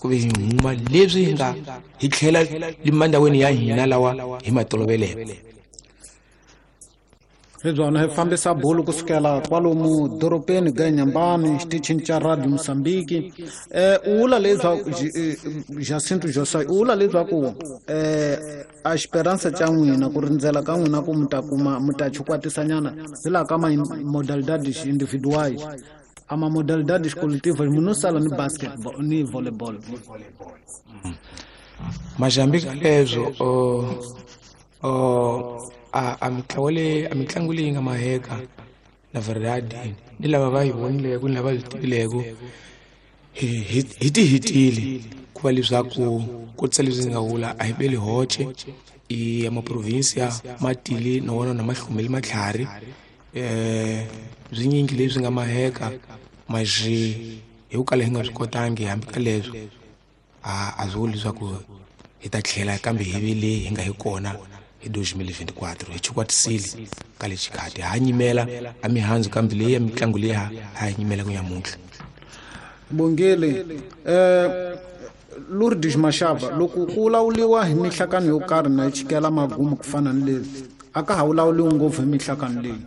Ku ve hi huma leswi hi nga hi tlhela limandhaweni ya hina lawa hi ma toloveleke. Hi byona hi fambisa bulu kusukela kwalomu dorobeni ga Nyambani xitichini xa Radio Mozambique. U vula leswaku Jacinto Josai u vula leswaku a xiperansa xa n'wina ku rindzela ka n'wina ku mi ta kuma mi ta chukwatisanyana hi laha ka ma-modalidades individuais a ma-modalidades coletivas munhu no sala ni basketball ni volleyball. Majambi ka leswo a mitlawa leyi a mitlangu leyi nga maheka na verdade ni lava va yi vonileko ni lava yi tivileko hi ti hitile ku va leswaku kotisa leswi ndzi nga vula a hi beli hoce i ya maprovinsia ma tile na wona na mahlumeli matlhari swinyingi leswi nga maheka maxi hi ku kala hi nga swi kotangi hambi ka leswo a swi vuli leswaku hi ta tlhela kambe hi ve leyi hi nga hi kona hi 2024 hi chukwatisile ka le xikhati ha nyimela a mihandzu kambe leyi ya mitlangu leyi ha nyimela ku nyamuntlha. Bongile Lourdes Mashaba loko ku vulavuriwa hi mihlakano yo karhi na yi chikela magumu ku fana ni leswi a ka ha vulavuriwi ngopfu hi mihlakano leyi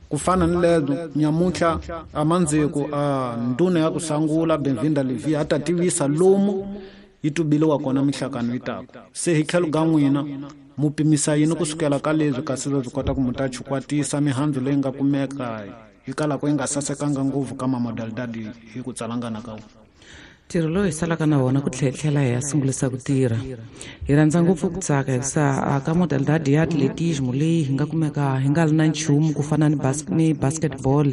ku fana ni lezo nyamuntlha a mandziko a ndhuna ya ku sangula Benvinda Levi a ta tivisa lomu yi tubiliwa kona mihlakano yi taku se hi tlhelo ga n'wina mu pimisa yini kusukela ka leswi kasi leswi kota ku mu ta chukwatisa mihandzu leyi nga kumeka yi kalaka yi nga sasekanga ngopfu ka mamodalidadi hi ku tsalangana ka wona. Ntirho lowu hi salaka na wona ku tlhela hi ya sungulisa ku tirha hi rhandza ngopfu ku tsaka hikusa ka modalidade ya atletismo leyi hi nga kumeka hi nga ri na nchumu ku fana ni basketball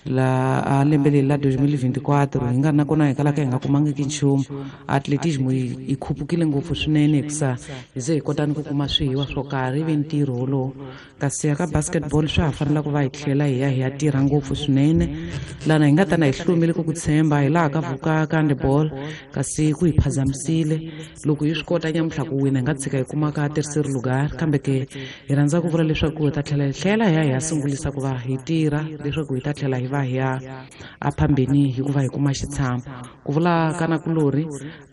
la a lembe leri la 2024 hi nga ri na kona hi kalaka hi nga kumangiki nchumu. Atletismo yi khupukile ngopfu swinene hikusa hi ze hi kota ni ku kuma swihiwa swo karhi ivi ntirho wolowo. Kasi ya ka basketball swa ha fanela ku va hi tlhela hi ya hi ya tirha ngopfu swinene lana hi nga ta na hi hlumile ku ku tshemba hi laha ka vuka ka handball kasi ku hi phazamisile loko hi swi kota nyamuntlha ku wina hi nga tshika hi kuma ka terceiro lugar kambe ke hi rhandza ku vula leswaku hi ta tlhela hi tlhela hi ya hi ya sungulisa ku va hi tirha leswaku hi ta tlhela hi va hi ya a phambeni hikuva hi kuma xitshamo. Ku vula ka na kulori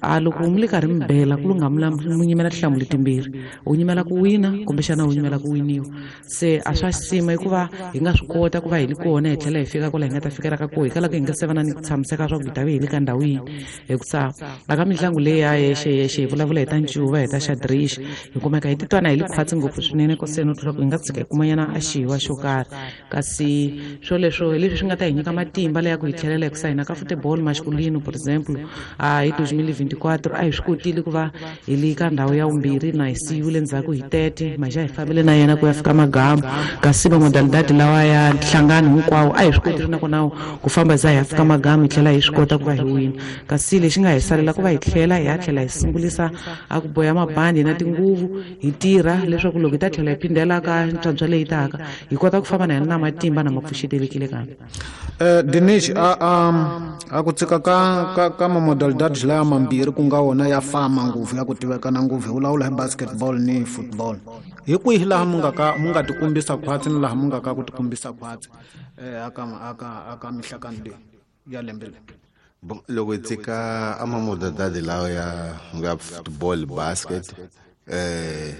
a loko mi le karhi mi bela ku lunga mu nyimela tinhlamulo timbirhi u nyimela ku wina kumbexana u nyimela ku winiwa se a swa xisima hikuva hi nga swi kota ku va hi li kona hi tlhela hi fika kwala hi nga ta fikela ka koho hi kalaka hi nga se va na ni ku tshamiseka swa ku hi ta ve hi le ka ndhawu yini hikusa aka mitlangu leyi ya yexe yexe hi vulavula hi ta ncuva hi ta xadrix hi kumeka hi titwana hi li khwatsi ngopfu swinene koseni u tlula ku hi nga tshika hi kumanyana a xiwa xo karhi kasi swoleswo hi leswi swi nga ta hi nyika matimba leya ku hi tlhelela hikusa hina ka football masculino for example a hi 2024 a hi swi kotile ku va hi li ka ndhawu ya vumbirhi na hi siyiwile ndzhaku hi 30 maxa hi fambile na yena ku ya fika magamu kasi mamodalidadi lawa ya nhlangano hinkwawo a hi swi kotile nakona ku famba za hi ya fika magamu hi tlhela hi swi kota ku va hi wina kasi lexi nga hi salela ku va hi tlhela hi ya tlhela hi sungulisa a ku boya mabandi na tinguvu hi tirha leswaku loko hi ta tlhela hi phindela ka ntswantswa leyi taka hi kota ku famba na yena na matimba na ma pfuxetelekile kambe. Dinesh a ku tshika ka mamodalidadi laya mambirhi ku nga wona ya fama ngopfu ya ku tivekana ngopfu hi vulavula hi basketball ni football hi kwihi laha mu nga ka mu nga tikumbisa khwatsi ni laha mu nga ka ku tikumbisa khwatsi aka mihlakano leyi ya lembe leri? Bon, loko hi tshika a mamodalidadi lawa ya nga football basket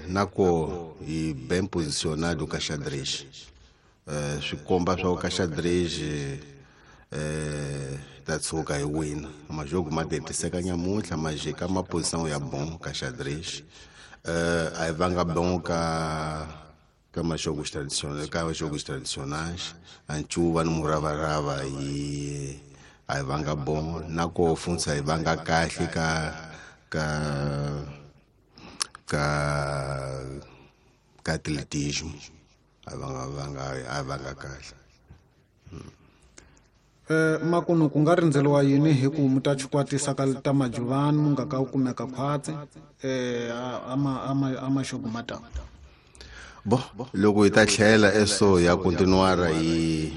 na ko hi ben posicionado ka xadrez swi komba swa ku ka xadrez ta tshuka hi wina majogo ma tetiseka nyamuntlha majika ma position ya bon ka xadrez a hi vanga bon ka majogos tradicionais ka jogos tradicionais a ncuva ni muravarava hi a hi vanga bon na ko funsa hi vanga kahle ka ka ka ka atletismo a vanga kahle. Makunu ku nga rindzeliwa yini hi ku mu ta chukwatisa ka ta majuvani mu nga ka ku kumeka khwatsi a maxogo ma ta? Bo loko hi ta tlhela eso ya continuara hi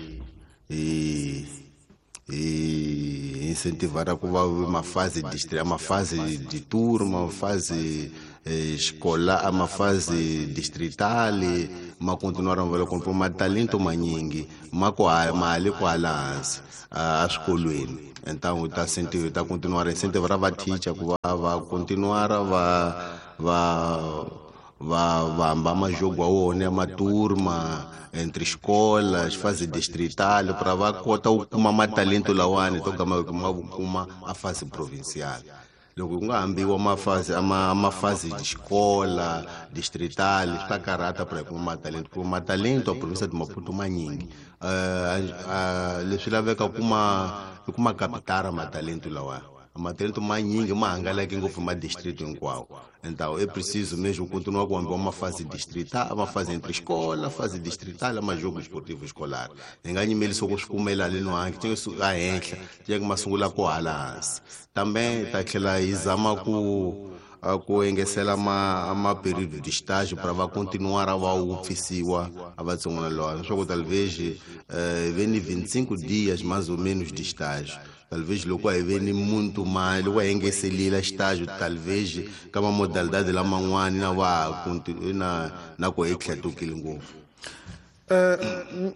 incentivara ku va mafase district mafase de tour mafase escola a mafase distrital ma continuara ma vela kona ma talento manyingi ma ku mali kwala hansi a swikolweni. Então hi ta hi ta continuar incentivar va teacher ku va va continuar va hamba majogo wa wona ya maturma entre escolas, fase distrital, para va kota ku kuma matalento lawani to gama ma kuma a fase provincial. Loko ku nga hambiwa mafase amafase de escola distrital swi ta karhata para kuma matalento, kuma matalento a província de Maputo manyingi. Leswi laveka kuma i kuma capitara matalento lawa. Matalento manyingi ma hangalake ngopfu ma distrito hinkwawo. Então é preciso mesmo continuar com uma fase distrital, uma fase entre escola, fase distrital, uma jogo esportivo escolar. Hi nyimeli swo ku swi kumela le no hanki, tinga a henhla, tinga ma sungula ko hala hansi. Também ta tlhela hi zama ku engesela ma período de estágio para va continuar va wupfisiwa a vatsongwana lawa, leswaku talvez veni 25 dias mais ou menos de estágio. Talvez loko a hi veni muntu mali loko a engeselile estágio, talvez ka ma modalidade laman'wani na va na ku hi tlhetukile ngopfu.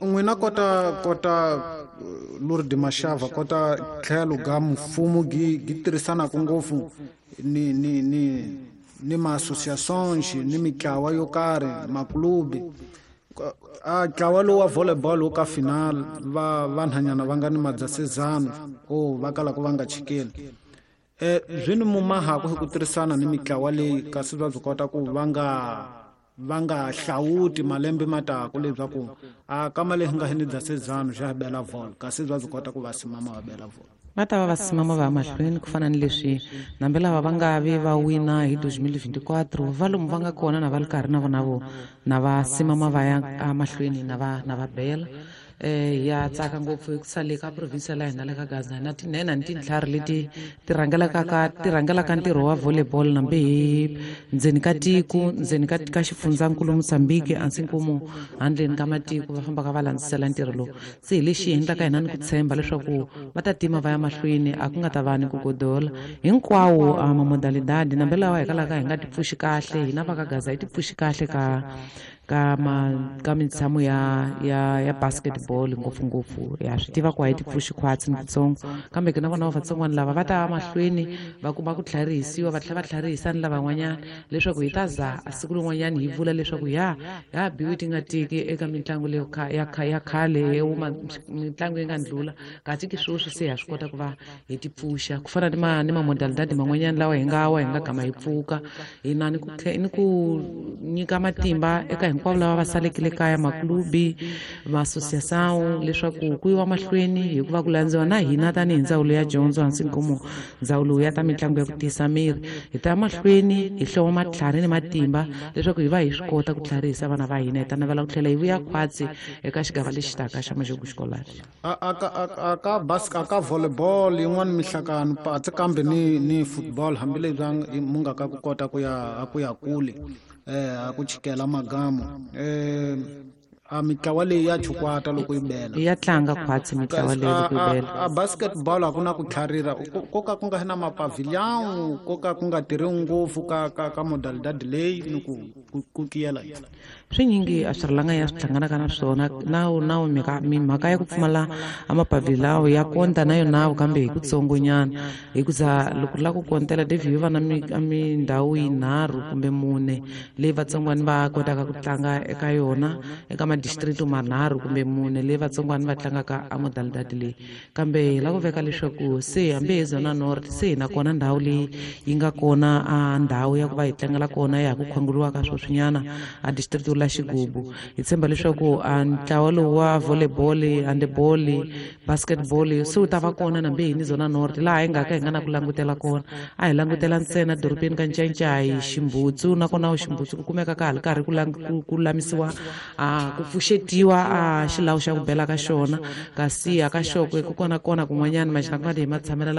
N'wina kota Lourdes Mashava, kota tlhelo ga mfumo gi tirhisanaka ngopfu ni ma-associations ni mitlawa yo karhi, maklubi. A ntlawa lowu wa volleyball wu ka final va vanhanyana va nga ni madzasezano o va kalaka va nga chikeli. Byi ni mumahaku hi ku tirhisana ni mitlawa leyi, kasi va byi kota ku va nga hlawuti malembe mataku leswaku a kama leyi nga ni dzasezano xa bela vol, kasi va byi kota ku va simama va bela vol. Va ta va va simama va ya mahlweni ku fana ni leswi nambe lava va nga vi va wina hi 2024 va lomu va nga kona na va ri karhi na vona vo na va simama va ya emahlweni na va bela. Ya tsaka ngopfu hi ku sale ka province la hina le ka Gaza na tinhena ni tintlhari leti ti rhangelaka ntirho wa volleyball nambe hi ndzeni ka tiko, ndzeni ka xifundzankulu Mozambique, hansi nkumu handleni ka matiko va fambaka va landzisela ntirho lowu. Se hi lexi endlaka hina ni ku tshemba leswaku va ta tima va ya mahlweni, a ku nga ta va ni ku godola hinkwawo mamodalidadi nambe lawa hi kalaka hi nga ti pfuxi kahle hina va ka Gaza hi ti pfuxi kahle ka mitshamo ya basketball ngopfungopfu. Ya swi tiva ku a hi ti pfuxi khwatsi ni kutsongo, kambe ke na vona vatsongwana lava va ta mahlweni va kuma ku tlharihisiwa, va tlhela va tlharihisa ni lavan'wanyana leswaku hi ta za a siku rin'wanyana hi vula leswaku ya biwi ti nga tiki eka mitlangu leyo ya khale mitlangu yi nga ndlula, kasi ki sweswi se ha swi kota ku va hi ti pfuxa ku fana ni mamodalidadi man'wanyana lawa hi nga wa hi nga gama hi pfuka hina ni ku nyika matimba eka hinkwavo lava va salekile kaya, maklubi, ma-associação, leswaku ku yiwa mahlweni hikuva ku landziwa na hina tanihi ndzawulo ya dyondzo hansi nkomo ndzawulo ya ta mitlangu ya ku tiyisa miri, hi ta mahlweni hi hloma matlhari ni matimba leswaku hi va hi swi kota ku tlharihisa vana va hina. Hi ta navela ku tlhela hi vuya khwatsi eka xigava lexi taka xa Majogo Xikolari. A ka volleyball yin'wana mihlakano patsi kambe ni football hambileswi mu nga ka ku kota ku ya kule a ku chikela magamo a mitlawa leyi ya chukwata loko yi bela ya tlanga khwatsi mitlawa leyi loko yi bela. A basketball a ku na ku tlharira ko ka ku nga na mapavilion, ko ka ku nga tirhi ngopfu ka modalidad leyi ni ku kiyela swinyingi a swi rilanga ya swi hlanganaka na swona na mhaka ya ku pfumala a mapavilao ya konta na yona kambe hi kutsongonyana, hikuza loko ri lava ku kontela David va na mindhawu yinharhu kumbe mune leyi vatsongwana va kotaka ku tlanga eka yona eka madistrito manharhu kumbe mune leyi vatsongwana va tlangaka a modalidad leyi. Kambe hi lava ku veka leswaku se hambi hi Zona North se hi na kona ndhawu leyi yi nga kona a ndhawu ya ku va hi tlangela kona ya ha ku khwanguriwaka sweswinyana a distrito la Xigubu. Hi tshemba leswaku a ntlawa lowu wa volleyball, handball, basketball se wu ta va kona nambe hi ni Zona North laha hi nga ka hi nga na ku langutela kona. A hi langutela ntsena dorobeni ka Ncancai, Ximbutsu, nakona Ximbutsu ku kumeka ka ha ri karhi ku lamisiwa ku pfuxetiwa a xilawu xa ku bela ka xona, kasi a ka Xokwe ku kona kun'wanyana maxina ku nga hi matshamelo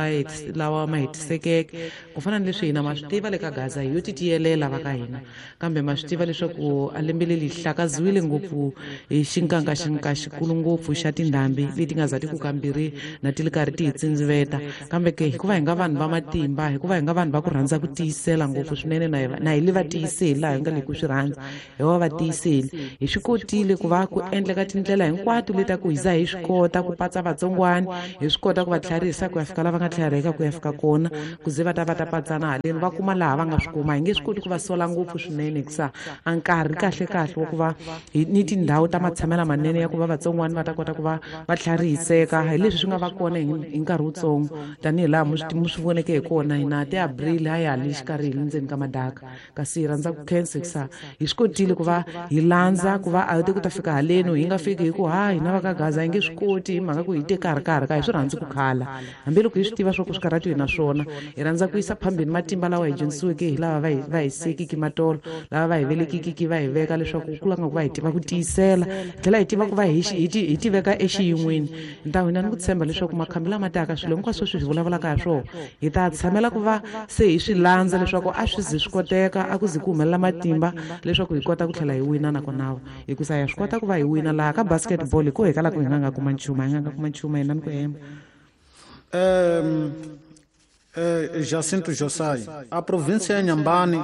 lawa ma hetisekeke ku fana ni leswi hina ma swi tiva le ka Gaza hi yo ti tiyelela va ka hina, kambe ma swi tiva leswaku a lembe leri hlakaziwile ngopfu hi xinkanga xikulu ngopfu xa tindhambi leti nga za ti ku kambirhi na ti ri karhi ti hi tsindziveta. Kambe ke hikuva hi nga vanhu va matimba, hikuva hi nga vanhu va ku rhandza ku tiyisela ngopfu swinene, na hi le va tiyiseli laha hi nga le ku swi rhandza, hi va va tiyiseli, hi swi kotile ku va ku endleka tindlela hinkwato leti ku hi za hi swi kota ku patsa vatsongwana, hi swi kota ku va tlharihisa ku ya fika la va nga tlhariheka ku ya fika kona, ku ze va ta va ta patsana haleni va kuma laha va nga swi kuma. Hi nge swi koti ku va sola ngopfu swinene hikusa a nkarhi kahle kahle wa ku va ni tindhawu ta matshamelo manene ya ku va vatsongwana va ta kota ku va va tlharihiseka hi leswi swi nga va kona hi nkarhi wutsongo, tanihi laha mu swi voneke hi kona hina ti-Abril a ya ha le xikarhi hi le ndzeni ka madaka. Kasi hi rhandza ku khensa hikusa hi swi kotile ku va hi landza ku va a te ku ta fika haleni, hi nga fiki hi ku ha hina va ka Gaza hi nge swi koti hi mhaka ku hi te karhi karhi ka hi swi rhandzi ku khala, hambiloko hi swi tiva swa ku swi karhati hi na swona. Hi rhandza ku yisa phambeni matimba lawa hi dyondzisiweke hi lava va hi sekiki matolo, lava va hi velekikiki va hi veka leswaku ku langa ku va hi tiva ku tiyisela, hi tlhela hi tiva ku va hi tiveka exiyin'weni. Ntawu hina ni ku tshemba leswaku makhambi lama taka swilo hinkwaswo swi hi vulavulaka hi swona hi ta tshamela ku va se hi swi landza leswaku a swi zi swi koteka, a ku zi ku humelela matimba leswaku hi kota ku tlhela hi wina nakona, hikusa ya swi kota ku va hi wina laha ka basketball hi ku hi kala ku hi nga nga kuma nchumu, hi nga nga kuma nchumu hina ni ku hemba. Jacinto Josai, a province ya Nyambani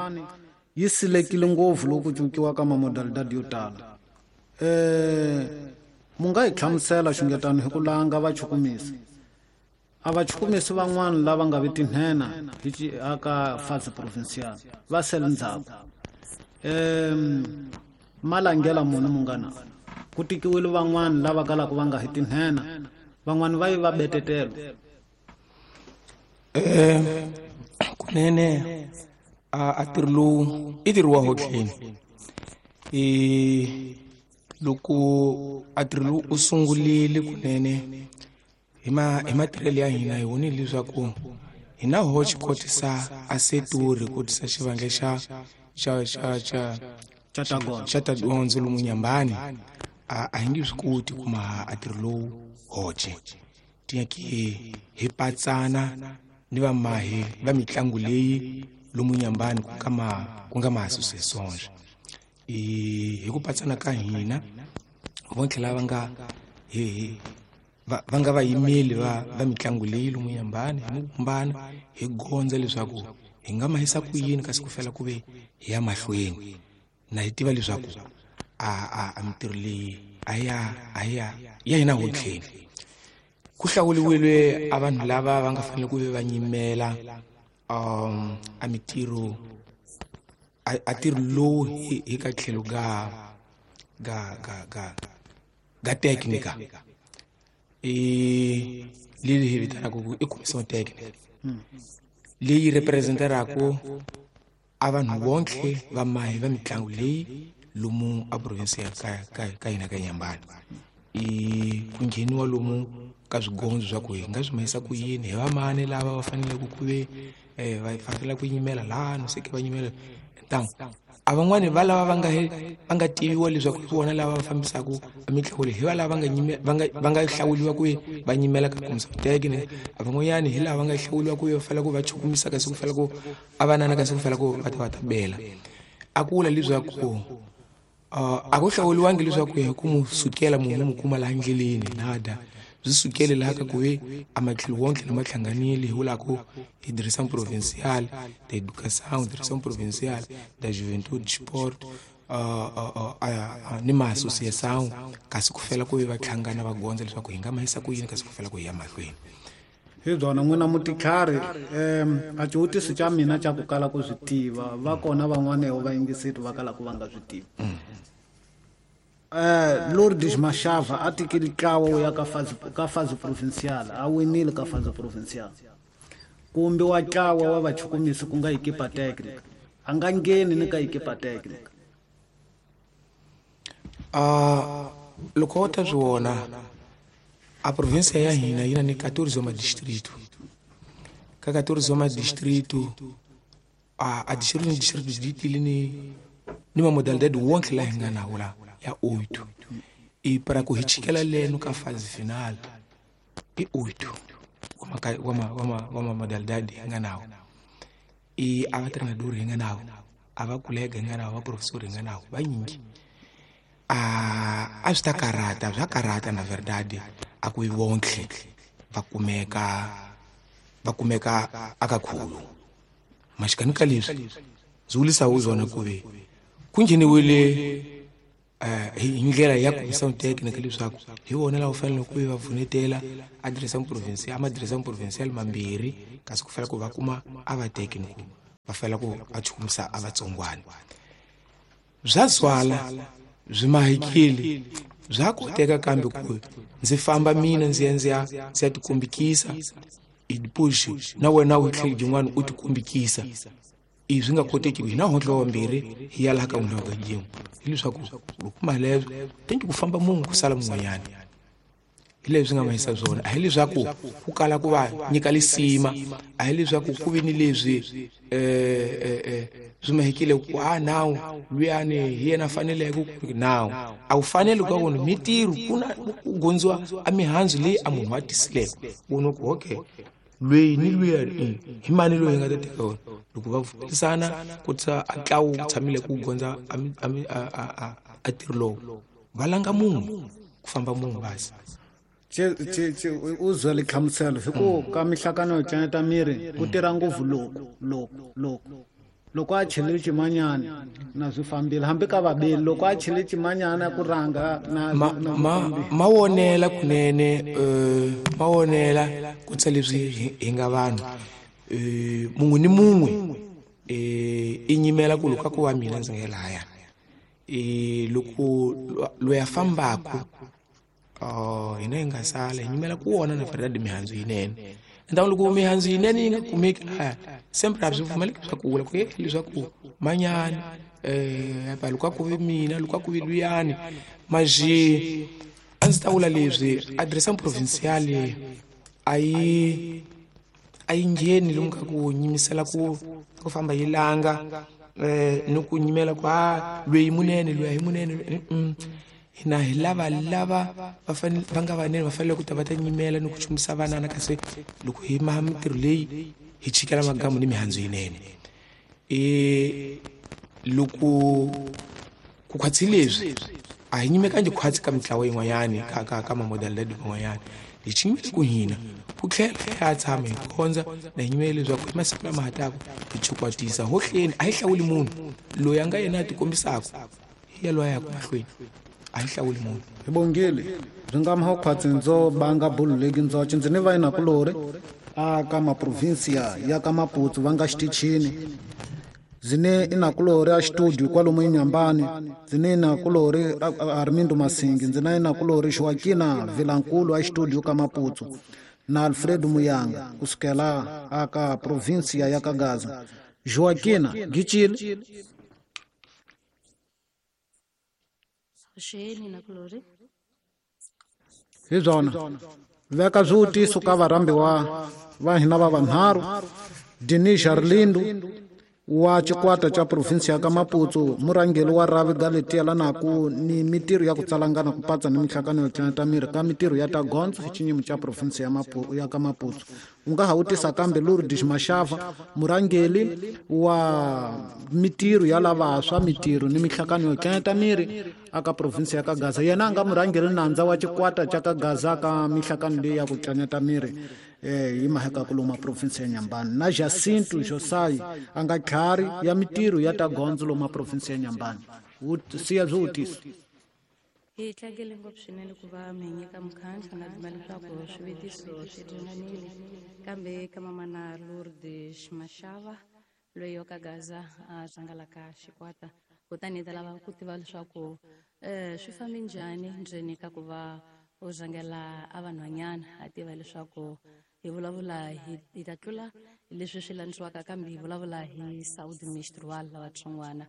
yi silekile ngopfu loko ku cinciwa ka mamodalidadi yo tala. Mu nga hi hlamusela xungetano hi ku langa vachukumisi? A vachukumisi van'wana lava nga vi tinhena hi aka fase provincial va sele ndzhaku. Malangela muni munghana? Ku tikiwile van'wana lava kalaka va nga hi tinhena, van'wana va yi va betetelo. Kunene a ntirho lowu i ntirho wa hotleni. Loko a ntirho lowu u sungurile kunene hi matirhelo ya hina hi vonile leswaku hi na hoxe kotisa a setori kotisa xivandla xa ta dyondzo lomu Nyambani, a hi nge swi koti ku maha a ntirho lowu hoxe. Tinyaki hi patsana ni vamahi va mitlangu leyi lomu Nyambani ku nga ma associations. Hi ku patsana ka hina vo tlhela va nga va nga vayimeli va mitlangu leyi lomu Nyambani, hi vumbana hi gondza leswaku hi nga mahisa ku yini kasi ku fela ku ve hi ya mahlweni. Na hi tiva leswaku a mintirho leyi a ya hina hotleni. Ku hlawuriwile a vanhu lava va nga fanele ku ve va nyimela a mintirho a ntirho lowu hi ka tlhelo ga ga ga ga ga technica, leyi hi vitanaka ku i commission technica leyi representeraka a vanhu vonke va mahi va mitlangu leyi lomu a province ya ka hina ka Nyambani. Ku ngheniwa lomu ka swigondzo swa ku hi nga swi mahisa ku yini, hi vamani lava va faneleke ku ve va fanele ku yimela laha no seke va yimela ntangu. A van'wani va lava va nga tiviwa leswaku hi vona lava va fambisaka mitlangu leyi, hi va lava va nga hlawuriwa ku va nyimela ka commission technique. A van'wanyani hi lava va nga hlawuriwa ku va fanele ku va chukumisa kasi ku fanele ku a vanana kasi ku fanele ku va ta va ta bela. A ku vula leswaku a ku hlawuriwangi leswaku hi ku mu sukela munhu mu kuma laha ndleleni nada, byi sukele laha ka ku ve a matlhelo wonke lama hlanganile hi vula ku hi direction provincial da educação, direction provincial da juventude sport ni ma associação, kasi ku fela ku ve va hlangana va gondza leswaku hi nga mahisa ku yini kasi ku fela ku hi ya mahlweni. Hi byona n'wina mutitlhari, a xivutiso xa mina xa ku kala ku swi tiva, va kona van'wana va yingiseti va kala ku va nga swi tivi. Lourdes Mashava a tikile ntlawa wo ya ka fase provincial, a winile ka fase provincial. Kumbe wa ntlawa wa vachukumisi ku nga equipa technique, a nga ngheni ni ka equipa technique. Loko u ta swi vona a province ya hina yi na ni 14 ma distrito. Ka 14 ma distrito a distrito ni distrito di tile ni ma modalidade wonke la hi nga na wona ya 8. E para ku hi chikela leno ka fase final i 8 wa ma modalidade hi nga nawo. E a va treinador hi nga nawo, a va kolega hi nga nawo, va professor hi nga nawo, va nyingi. A swi ta karata, bya karata na verdade a ku vonke va kumeka aka khulu. Maxikani ka leswi ndzi vulisa wu zona ku ve ku ngheniwile Hi ndlela ya comissão técnica leswaku hi vona lava fanele ku va pfunetela a direção provincial, ama direção provincial mambirhi, kasi ku fanele ku va kuma a va técnico va fanele ku va chukumisa a vatsongwana. Bya zwala byi mahikile bya koteka, kambe ku ndzi famba mina ndzi ya tikombikisa i push na wena u tlhela byin'wana u tikombikisa, i swi nga koteki hina hontlo wambirhi hi ya laha ka n'wina ka yin'we. Hileswaku loko malebyo tenki ku famba munhu ku sala mun'wanyana, hi leswi nga mahisa swona. A hi leswaku ku kala ku va nyika lisima, a hi leswaku ku vi ni leswi swi mahekile ku a nawu luyani hi yena faneleke ku nawu a wu faneli ka wona mitirho ku na ku gondziwa a mihandzu leyi a munhu a tisileke wona ku okay lweyi ni luya hi mani loyi hi nga ta teka wona. Loko va pfumelisana ku tsa a ntlawu wu tshamile ku gondza a ntirho lowu, va langa munhu ku famba munhu basi. U zwele hlamuselo hi ku ka mihlakano yo tlanyeta miri ku tirha ngopfu loko a chele ximanyana na swi fambile, hambi ka vabeli loko a chele ximanyana ku rhanga na ma wonela kunene, ma wonela ku tsa leswi hi nga vanhu mun'we ni mun'we i nyimela ku loko ku va mina ndzi nga lahaya loko loyi a fambaka hina hi nga sala hi nyimela ku wona na verdade mihandzu yinene. Ndhawu loko mihandzu yinene yi nga kumeki lahaya sempre a swi pfumeleki swa ku vula ku leswaku manyani loko a ku vi mina loko a ku vi luyani maji. A ndzi ta vula leswi adresa provincial a yi ngheni lomu ka ku nyimisela ku famba yi langa ni ku nyimela ku a lweyi munene lweyi a hi munene. Hina hi lava va fanele va nga vanene va fanele ku ta va ta nyimela ni ku chumisa vanana, kasi loko hi maha mintirho leyi hi chikela magamu ni mihandzu yinene. Loko ku khwatsi leswi a hi nyimekangi khwatsi ka mitlawa yin'wanyani ka mamodalidadi man'wanyana, hi chinyimele ku hina ku tlhela ya tshama hi kondza na hi nyimele leswaku hi masiku lama ha taka hi chukwatisa hohleni. A hi hlawuli munhu loyi a nga yena a tikombisaka hi ya loyi a yaka mahlweni, a hi hlawuli munhu. Hi bongile byi nga maho khwatsi ndzo banga bulu leki ndzoce ndzi ni va inakulori a ka maprovinsia ya ka Maputo va nga xitichini zine inakulori a studio kwalomu eNyambani, zine inakulori Armindo Masingi, ndzina inakulori Joaquina Vilankulu a studio ka Maputo na Alfredo Muyanga kusukela aka provinsia ya ka Gaza. Joaquina Gichile hi byona veka swivutiso ka varhambiwa va hina va vanharhu: Denis Arlindo wa xikwata xa provinsi ya ka Maputo, murhangeri wa rhavi Galetia naku ni mitirho ya ku tsalangana ku patsa ni mihlakano yo tlanyeta miri ka mitirho ya ta gondzo hi xinyimo xa provinsi ya ka Maputo. U nga ha wutisa kambe Lourdes Mashava, murhangeri wa mitirho ya lavantshwa, mitirho ni mihlakano yo tlanyeta miri aka provinsi ya ka Gaza. Yena a nga murhangeri nandza wa xikwata xa ka Gaza ka mihlakano leyi ya ku tlanyeta miri hi maheka ku loma provinsi ya Nyambani, na Jacinto Josai a nga tlhari ya mitirho ya ta gondzo loma provinsi ya Nyambani. Siya swivutiso. Hi tlangele ngopfu swinene ku va mi nyika mukhanhlo na dzima leswaku swivutiso swi ringanile, kambe ka mamana Lourdes Mashava loyi wa ka Gaza a rhangalaka xikwata, kutani hi ta lava ku tiva leswaku swi fambe njhani ndzeni ka ku va u rhangela a vanhwanyana, a tiva leswaku hi vulavula hi ta tlula leswi swi landziwaka, kambe hi vulavula hi Saudi Mistral lavatsongwana.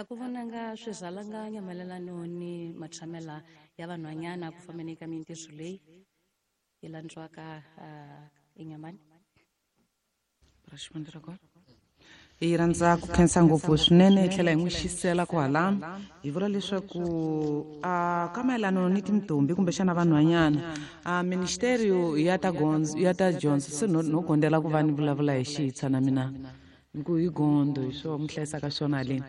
Ku vonanga swi rhalanganya mayelano ni matshamela ya vanhwanyana ku fambeni ka mintirho leyi yi landziwaka eNyamani. Hi rhandza ku khensa ngopfu swinene hi tlhela hi n'wi xisela kwalano, hi vula leswaku ka mayelano ni tintombi kumbexana vanhwanyana a ministerio ya ta gondzo ya ta dyondzo se no gondela ku va ni vulavula hi xitshwa na mina. Ku hi gondo hi swo mi hlayisaka swona haleni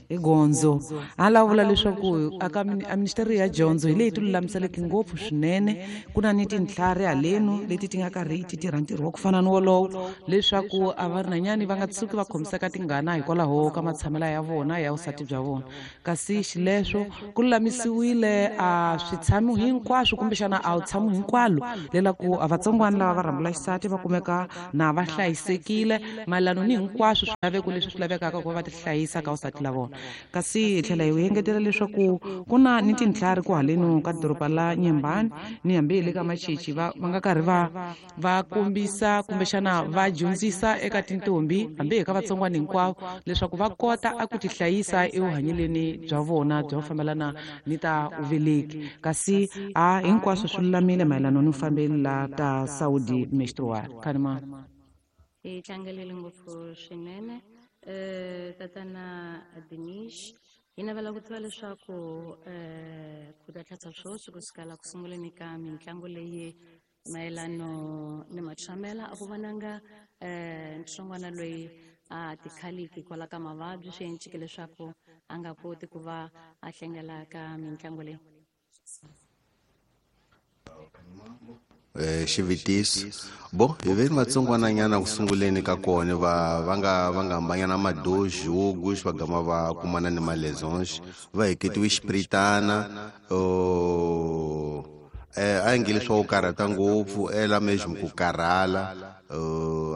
hi gondzo a la vula leswaku aka a ministeri ya dyondzo hi leyi ti lulamiseleke ngopfu swinene ku na ni tintlhari halenu leti ti nga karhi ti tirha ntirho wa ku fana ni wolowo leswaku a va rinanyani va nga tshuki va khomiseka tingana hikwalaho ka matshamelo ya vona ya vusati bya vona kasi xileswo ku lulamisiwile a switshamo hinkwaswo kumbexana a wu tshamo hinkwalo lelaku a vatsongwana lava va rhambula xisati va kumeka na va hlayisekile mayelano ni hinkwaswo swilaveko leswi swi lavekaka ku va va ti hlayisa ka vusati la vona kasi hi tlhela hi engetela leswaku ku na ni tintlhari ku haleni ka doroba la Nyembani ni hambi hi le ka Machichi va va nga karhi va va kombisa kumbexana va dyondzisa eka tintombi hambi hi ka vatsongwana hinkwavo leswaku va kota a ku tihlayisa evuhanyeleni bya vona bya ku fambelana ni ta uveleki kasi a hinkwaswo swi lulamile mayelana ni fambeli la ta Saudi menstrual khanima. Hi tlangelele ngopfu swinene tatana Dinish hi navela ku tiva leswaku ku ta tlhatsa swoswi ku sukela ku sunguleni ka mitlangu leyi mayelano ni matshamela a ku vonanga ntsongwana loyi a tikhaliki kwala ka mavabyi swi encike leswaku a nga koti ku va a hlengela ka mitlangu leyi. Xivutiso bo hi ve ni vatsongwananyana ku sunguleni ka kona va va nga va nga hambanyana madoji wo va gama va kumana ni malesons va heketiwe xipiritana a yi nge leswaku karhata ngopfu ela mesmo ku karhala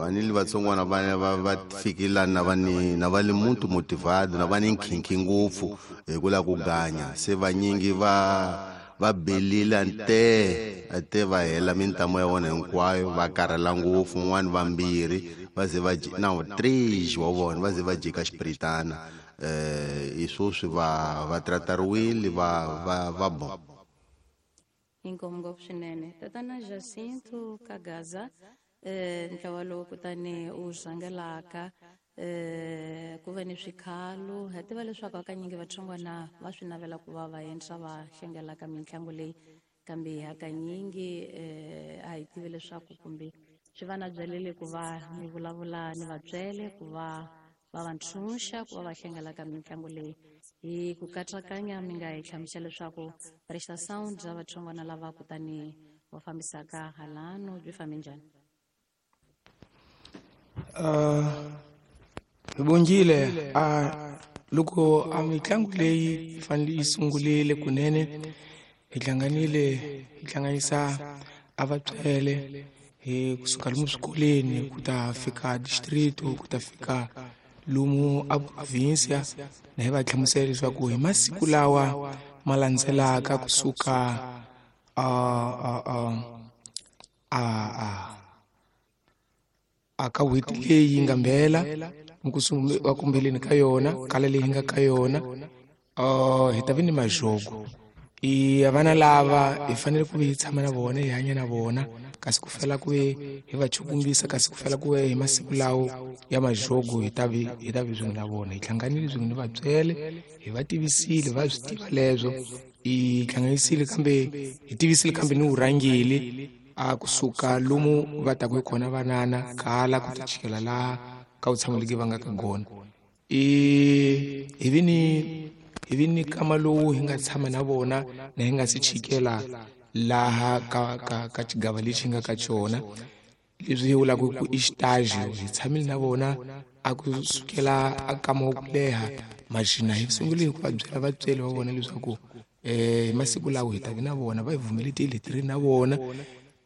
a ni li vatsongwana va va va fikile na va ni na va le muntu motivado na va ni nkhinkhi ngopfu hi ku lava ku ganya se vanyingi va va belile ante va hela mintamo ya vona hinkwayo va karhala ngopfu un'wana vambirhi va ze va na 3 wa vona va ze va jika xipiritana hi swoswi va va tratariwile va va va bon. Inkomu ngopfu swinene tatana Jacinto Kagaza ntlawa lowu kutani u rhangelaka ku va ni swikhalo ha tiva leswaku hakanyingi vatsongwana va swi navela ku va va endla va hlengelaka mitlangu leyi kambe hakanyingi a hi tivi leswaku kumbe swi va na byelele ku va mi vulavula ni vatswele ku va va va ntshunxa ku va va hlengelaka mitlangu leyi hi ku katsakanya mi nga hi hlamusela leswaku Rista Sound bya vatsongwana lava kutani va fambisaka halano byi fambe njhani? Vongile loko a mitlangu leyi fanele yi sungulile kunene hi hlanganile hi hlanganisa a vatswele hi kusuka lomu swikolweni ku ta fika district ku ta fika lomu a provincia na hi va hlamusela leswaku hi masiku lawa ma landzelaka kusuka a ka n'hweti leyi nga mbela kumbeleni ka yona kala leyi nga ka yona hi ta vi ni majogo i vana lava hi fanele ku hi tshama na vona hi hanya na vona kasi ku fela ku hi va chukumbisa kasi ku fela ku hi masiku lawo ya majogo hi ta vi swin'we na vona hi hlanganile swin'we ni vatswele hi va tivisile va swi tiva leswo hi hlanganisile kambe hi tivisile kambe ni vurhangeli a kusuka lomu va taku hi kona vanana kala ku ta chikela laha ka vutshamuliki va nga ka gona hi vi ni kama lowu hi nga tshama na vona na hi nga si chikela laha ka xigava lexi nga ka xona leswi hi vulaka ku i xitaji hi tshamile na vona a ku sukela a kama wa ku leha maxina hi sungule hi ku va byela vatsweri va vona leswaku hi masiku lawa hi ta vi na vona va hi vumeletile hi tirhi na vona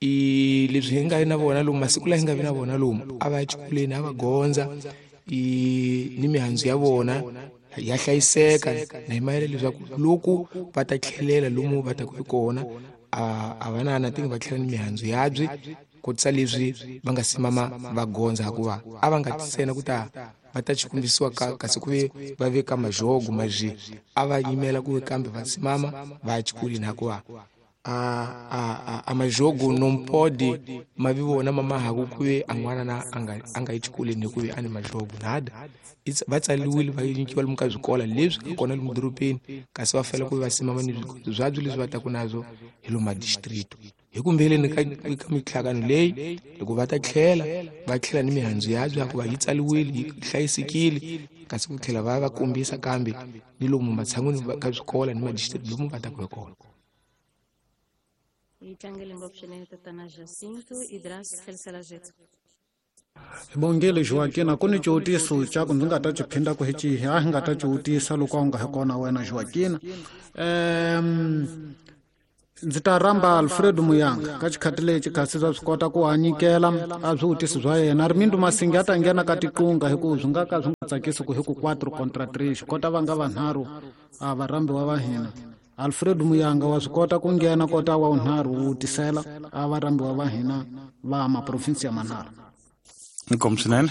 i leswi hi nga na vona lomu masiku lawa hi nga vi na vona lomu a va ya xikolweni a va gondza i ni mihandzu ya vona ya hlayiseka na hi mayela leswaku loko va ta tlhelela lomu va taku hi kona a va na na tingi va tlhela ni mihandzu yabyi kotisa leswi va nga simama va gondza hikuva a va nga tisena ku ta va ta chikumbisiwa kasi ku ve va veka majogo maji a va yimela ku ve kambe va simama va ya xikolweni hikuva a majogo non pode ma vi vona mamahaku ku ve a n'wana na a nga yi xikolweni hikuve a ni majogo nada va tsariwile va nyikiwa lomu ka swikola leswi nga kona lomu dorobeni kasi va fanele ku va simama ni swigondzo byabyo leswi va taku nazwo hi lomu madistrict. Hi kumbeleni ka mihlangano leyi loko va ta tlhela va tlhela ni mihandzu ya bya ku va yi tsaliwile yi hlayisekile, kasi ku tlhela va va kombisa kambe ni lomu matshan'wini ka swikolo ni madistrict lomu va taka hi kona. Hi tlangele ngopfu swinene tatana Jacinto Idras tlherisela Jetso. Hi bongile Joaquina, ku ni xivutiso xa ku ndzi nga ta xi phinda ku hi xihi a hi nga ta xi vutisa loko a wu nga hi kona wena Joaquina. Ndzi ta rhamba Alfredo Muyanga ka xikhati lexi kasi swa swi kota ku hanyikela a swivutiso swa yena. Rimindo Masingi a ta nghena ka tiqunga hi ku swi nga ka swi nga tsakisi ku hi ku 4 contra 3 xi kota va nga vanharhu a varhambiwa va hina. Alfredo Muyanga wa swi kota ku nghena kota wa vunharhu wu vutisela a varhambiwa va hina va maprovinsi ya manharhu. Inkomu swinene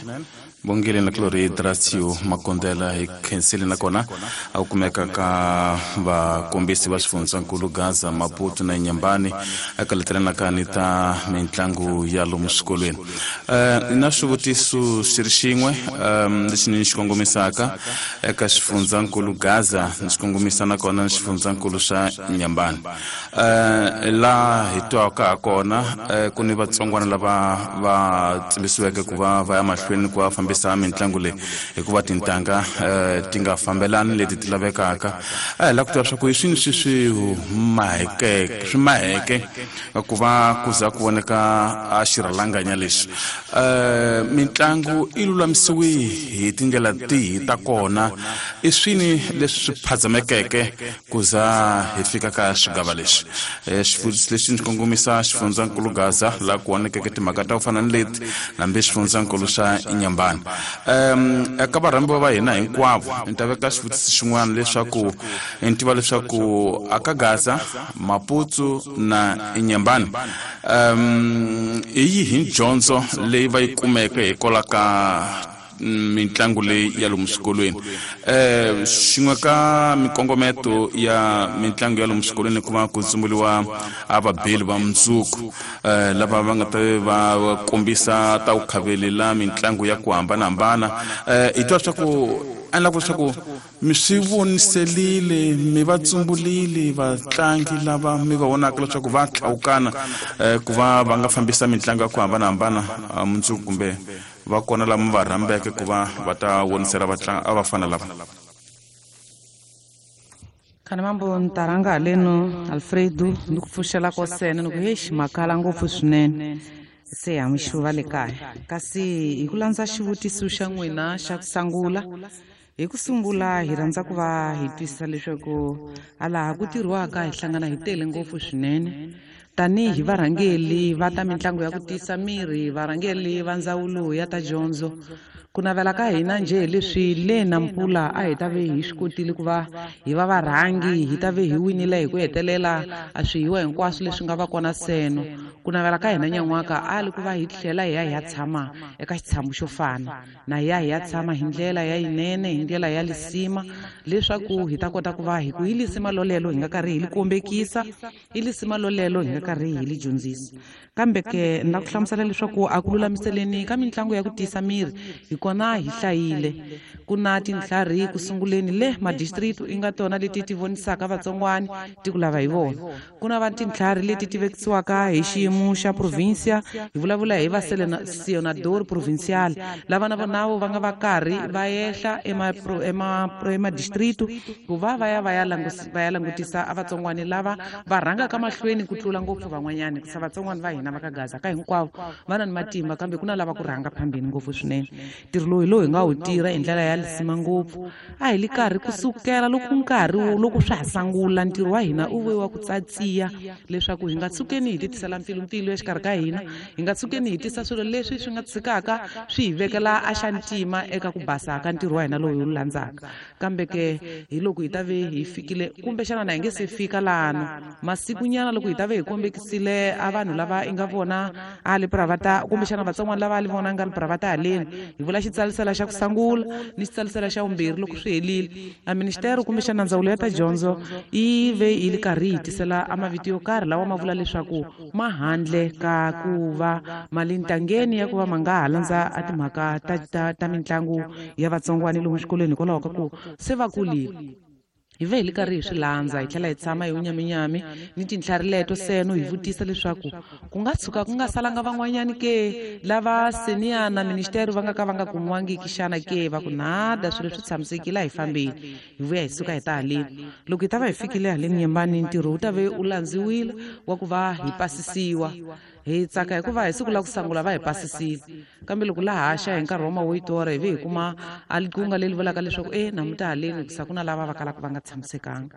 bongile na Glory Drasio Makondela hi khensile nakona a ku kumeka ka vakombisi va xifundzankulu Gaza, Maputo na Inhambane eka letelanaka ni ta mitlangu ya lomu swikolweni. Na swivutiso xi ri xin'we lexi ni xi kongomisaka eka xifundzankulu Gaza ni xi kongomisa nakona ni xifundzankulu xa Inhambane. Laha hi twaka ha kona ku ni vatsongwana lava va tsimbisiweke ku va va ya mahlweni ku va fambisa mitlangu leyi hikuva tintanga ti nga fambelani leti ti lavekaka. A hi lava ku tiva swa ku hi swini swi swi maheke ku va ku za ku voneka a xirhalanganya lexi. Mitlangu yi lulamisiwe hi tindlela tihi ta kona, i swini leswi swi phazamekeke ku za hi fika ka xigava lexi? Xivutiso lexi ndzi kongomisa xifundzankulu Gaza laha ku vonekeke timhaka ta ku fana ni leti hambi xifundzankulu xa Inhambane. Eka varhambiwa va hina hinkwavo ni ta veka xivutiso xin'wana leswaku ni tiva leswaku aka Gaza, Maputo na Inhambane hi yihi dyondzo leyi va yi kumeke hikwalaho ka mitlangu leyi ya lomu swikolweni? Xin'we ka mikongometo ya mitlangu ya lomu swikolweni ku va ku tsumburiwa a vabeli va mundzuku lava va nga ta va kombisa ta ku khavelela mitlangu ya ku hambanahambana. Hi twa leswaku endla ku leswaku mi swi voniselile mi va tsumbulile vatlangi lava mi va vonaka leswaku va tlhawukana ku va va nga fambisa mitlangu ya ku hambanahambana mundzuku, kumbe va kona lama va rhambeke ku va va ta vonisela vatlangi a va fana lava. Khana mambo ntaranga haleno Alfredo ni ku pfuxela ko sene ni ku hexi makala ngopfu swinene se ha mixuva le kaya. Kasi hi ku landza xivutiso xa n'wina xa ku sungula, hi ku sungula hi rhandza ku va hi twisisa leswaku a laha ku tirhiwaka hi hlangana hi tele ngopfu swinene tanihi varhangeli va ta mitlangu ya ku tiyisa miri, varhangeli va ndzawulo ya ta dyondzo. Ku navela ka hina njhe hi leswi le Nampula a hi ta ve hi swi kotile ku va hi va varhangi, hi ta ve hi winile hi ku hetelela a swihiwa hinkwaswo leswi nga va kona seno. Ku navela ka hina nyan'waka a li ku va hi tlhela hi ya hi ya tshama eka xitshamo xo fana na hi ya hi ya tshama hi ndlela ya yinene, hi ndlela ya lisima, leswaku hi ta kota ku va hi ku hi lisima lolelo hi nga karhi hi li kombekisa, hi lisima lolelo hi nga karhi hi li dyondzisa. Kambe ke na ku hlamusela leswaku a ku lulamiseleni ka mitlangu ya ku tiyisa miri hi kona hi hlayile. Ku na tintlhari ku sunguleni le madistrict i nga tona leti ti vonisaka vatsongwani ti ku lava hi vona. Ku na va tintlhari leti ti vekisiwaka hi xiyimo xa provincia, hi vulavula hi va senador provincial lava na vona va nga va karhi va ehla ema district ku va va ya va ya va ya langutisa a vatsongwani lava va rhangaka mahlweni ku tlula ngopfu van'wanyani, ku sa vatsongwani va hina va ka Gaza ka hinkwavo va na ni matimba, kambe ku na lava ku rhanga phambeni ngopfu swinene. Ntirho lowu hi lowu hi nga wu tirha hi ndlela ya lisima ngopfu. A hi li karhi kusukela loko nkarhi loko swa ha sungula ntirho wa hina u ve wa ku tsatsiya leswaku hi nga tshukeni hi ti tisela mpfilumpfilu exikarhi ka hina, hi nga tshukeni hi tisa swilo leswi swi nga tshikaka swi hi vekela a xa ntima eka ku basa ka ntirho wa hina lowu hi wu landzaka. Kambe ke hi loko hi ta ve hi fikile, kumbexana na hi nge se fika lano masikunyana loko hi ta ve hi kombekisile a vanhu lava i nga vona a le pravata, kumbexana vatsongwana lava a li vona nga le pravata haleni, hi vula xitsalisela xa ku sungula ni xitsalisela xa vumbirhi loko swi helile. A ministero kumbexana ndzawulo ya ta dyondzo yi ve yi li karhi yi tisela a mavito yo karhi lawa ma vula leswaku ma handle ka ku va mali ntangeni ya ku va ma nga ha landza a timhaka ta mitlangu ya vatsongwani lomu swikolweni hikwalaho ka ku se va kulile. Hi ve hi li karhi hi swi landza hi tlhela hi tshama hi wunyaminyami ni tintlhari leto seno hi vutisa leswaku ku nga tshuka ku nga salanga van'wanyani ke lava seniya na ministeri va nga ka va nga kumiwangiki xana ke, va ku nada swilo swi tshamisekile a hi fambeni. Hi vuya hi suka hi ta haleni. Loko hi ta va hi fikile haleni Nyembani, ntirho wu ta ve u landziwile wa ku va hi pasisiwa. Hi tsaka hikuva hi siku la ku sungula va hi pasisile, kambe loko la haxa hi nkarhi wa mawoyitora hi ve hi kuma a likunga leri vulaka leswaku namuntlha haleni hikusa ku na lava va kalaka va nga tshamisekanga.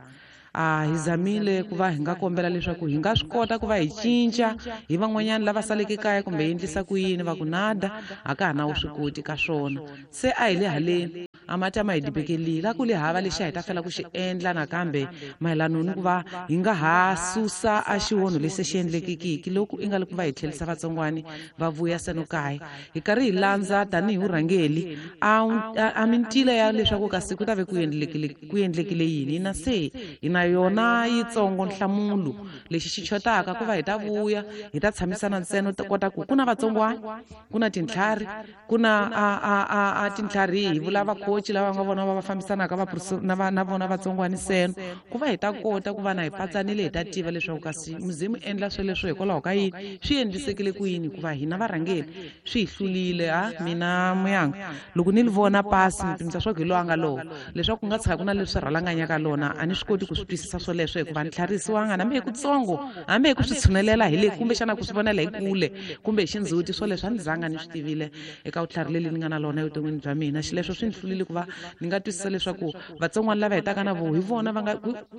Hi zamile ku va hi nga kombela leswaku hi nga swi kota ku va hi cinca hi van'wanyana lava saleke kaya kumbe hi endlisa ku yini, va ku nada a ka ha na vuswikoti ka swona. Se a hi le haleni a mati a ma hi dibekelile, a ku le hava lexi a hi ta fela ku xi endla nakambe mayelana ni ku va hi nga ha susa a xiwonho lexi xi endlekekiki loko i nga le ku va hi tlherisa vatsongwani va vuya seno kaya. Hi karhi hi landza tanihi vurhangeri a mintila ya leswaku kasi ku ta ve ku endlekile yini, na se hi na yona yitsongo nhlamulo lexi xi chotaka ku va hi ta vuya hi ta tshamisana ntsena ta kota ku ku na vatsongwani, ku na tintlhari, ku na a tintlhari hi vula vakhoci lava nga vona va va fambisanaka va na vona vatsongwani seno ku va hi ta kota ku va na hi patsanile hi ta tiva leswaku kasi muzimu endla sweleswo hikwalaho ka yini, swi endlisekile ku yini, hikuva hina varhangeri swi hi hlulile. Mina muyanga loko ni li vona pasi ni pimisa swa ku hi lowa nga lowo leswaku ku nga tshika ku na leswi rhalanganyaka lona a ni swi koti ku swi twisisa swoleswo hikuva ni tlharisiwanga hambi hi kutsongo, hambi hi ku swi tshunelela hi le kumbexana ku swi vonela hi kule kumbe hi xindzhuti swoleswo a ni zanga ni swi tivile eka vutlhari leli ni nga na lona evuton'wini bya mina. Xileswo swi ni hlulile ku va ni nga twisisa leswaku vatsongwana lava hetaka na vo hi vona va nga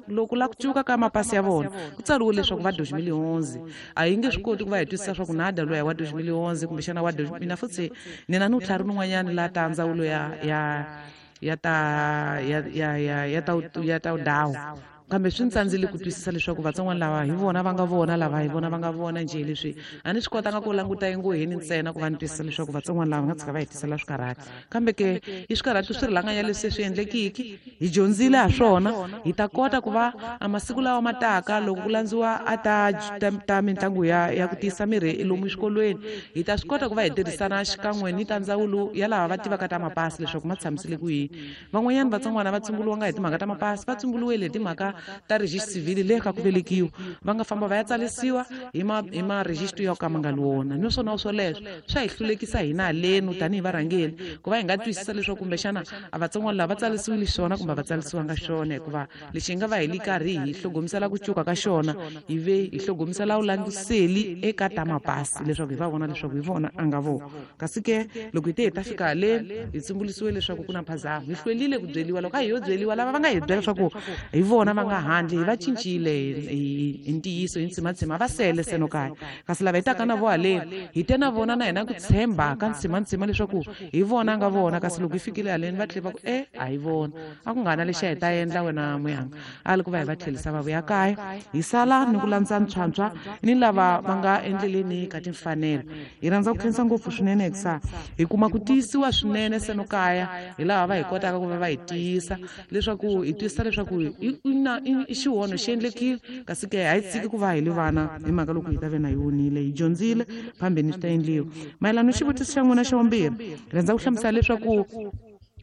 loko la ku cuka ka mapasi ya vona ku tsariwe leswaku va 2011, a hi nge swi koti ku va hi twisisa swa ku nada loyi wa 2011 kumbexana wa mina futhi ni na ni vutlhari nin'wanyani la ta ndzawulo ya ta dawu, kambe swi ntsandzile ku twisisa leswaku vatsongwana lava hi vona va nga vona lava hi vona va nga vona njhe. Leswi a ni swi kotanga ku languta engoheni ntsena ku va ni twisisa leswaku vatsongwana lava nga tshika va hi tisela swikarhati, kambe ke i swikarhati swi rilanganya leswi swi endlekiki hi dyondzile ha swona. Hi ta kota ku va a masiku lawa ma taka loko ku landziwa a ta mitlangu ya ku tiyisa mirhi lomu exikolweni, hi ta swi kota ku va hi tirhisana xikan'we ni ta ndzawulo ya lava va tivaka ta mapasi leswaku ma tshamisile ku yini. Van'wanyana vatsongwana va tsumbuluwanga hi timhaka ta mapasi, va tsumbuluwile hi timhaka ta register civil le ka ku velekiwa, va nga famba va ya tsalisiwa hi ma register ya ka ma nga li wona. Naswona swoleswo swa hi hlulekisa hina halenu tanihi varhangeri ku va hi nga twisisa leswaku kumbexana a vatsongwana lava va tsalisiwile xona kumbe va tsalisiwanga xona, hikuva lexi hi nga va hi li karhi hi hlogomisela ku cuka ka xona hi ve hi hlogomisela vulandziseli eka ta mapasi leswaku hi va vona leswaku hi vona a nga vona. Kasi ke loko hi te hi ta fika haleni hi tsumbulisiwe leswaku ku na mphazamo, hi hlwelile ku byeliwa. Loko a hi yo byeliwa lava va nga hi byela leswaku hi vona va nga handle hi va cincile hi ntiyiso hi ntsimantsima va sele seno kaya, kasi lava hi taka na vo haleni hi te na vona na hina ku tshemba ka ntsimantsima leswaku hi vona nga vona, kasi loko hi fikile haleni va tlhela va ku a hi vona, a ku nga na lexi a hi ta endla wena muyanga, a li ku va hi va tlherisa va vuya kaya. Hi sala ni ku landza ntshwantshwa ni lava va nga endleleni ka timfanelo. Hi rhandza ku khensa ngopfu swinene hikusa hi kuma ku tiyisiwa swinene seno kaya hi laha va hi kotaka ku va va hi tiyisa leswaku hi twisisa leswaku i xihono xi endlekile, kasi ke a hi tshiki ku va hi li vana hi mhaka loko hi ta ve na hi wonile, hi dyondzile phambeni swi ta endliwa. Mayelana ni xivutiso xa n'wina xa vumbirhi, rhandza ku hlamusela leswaku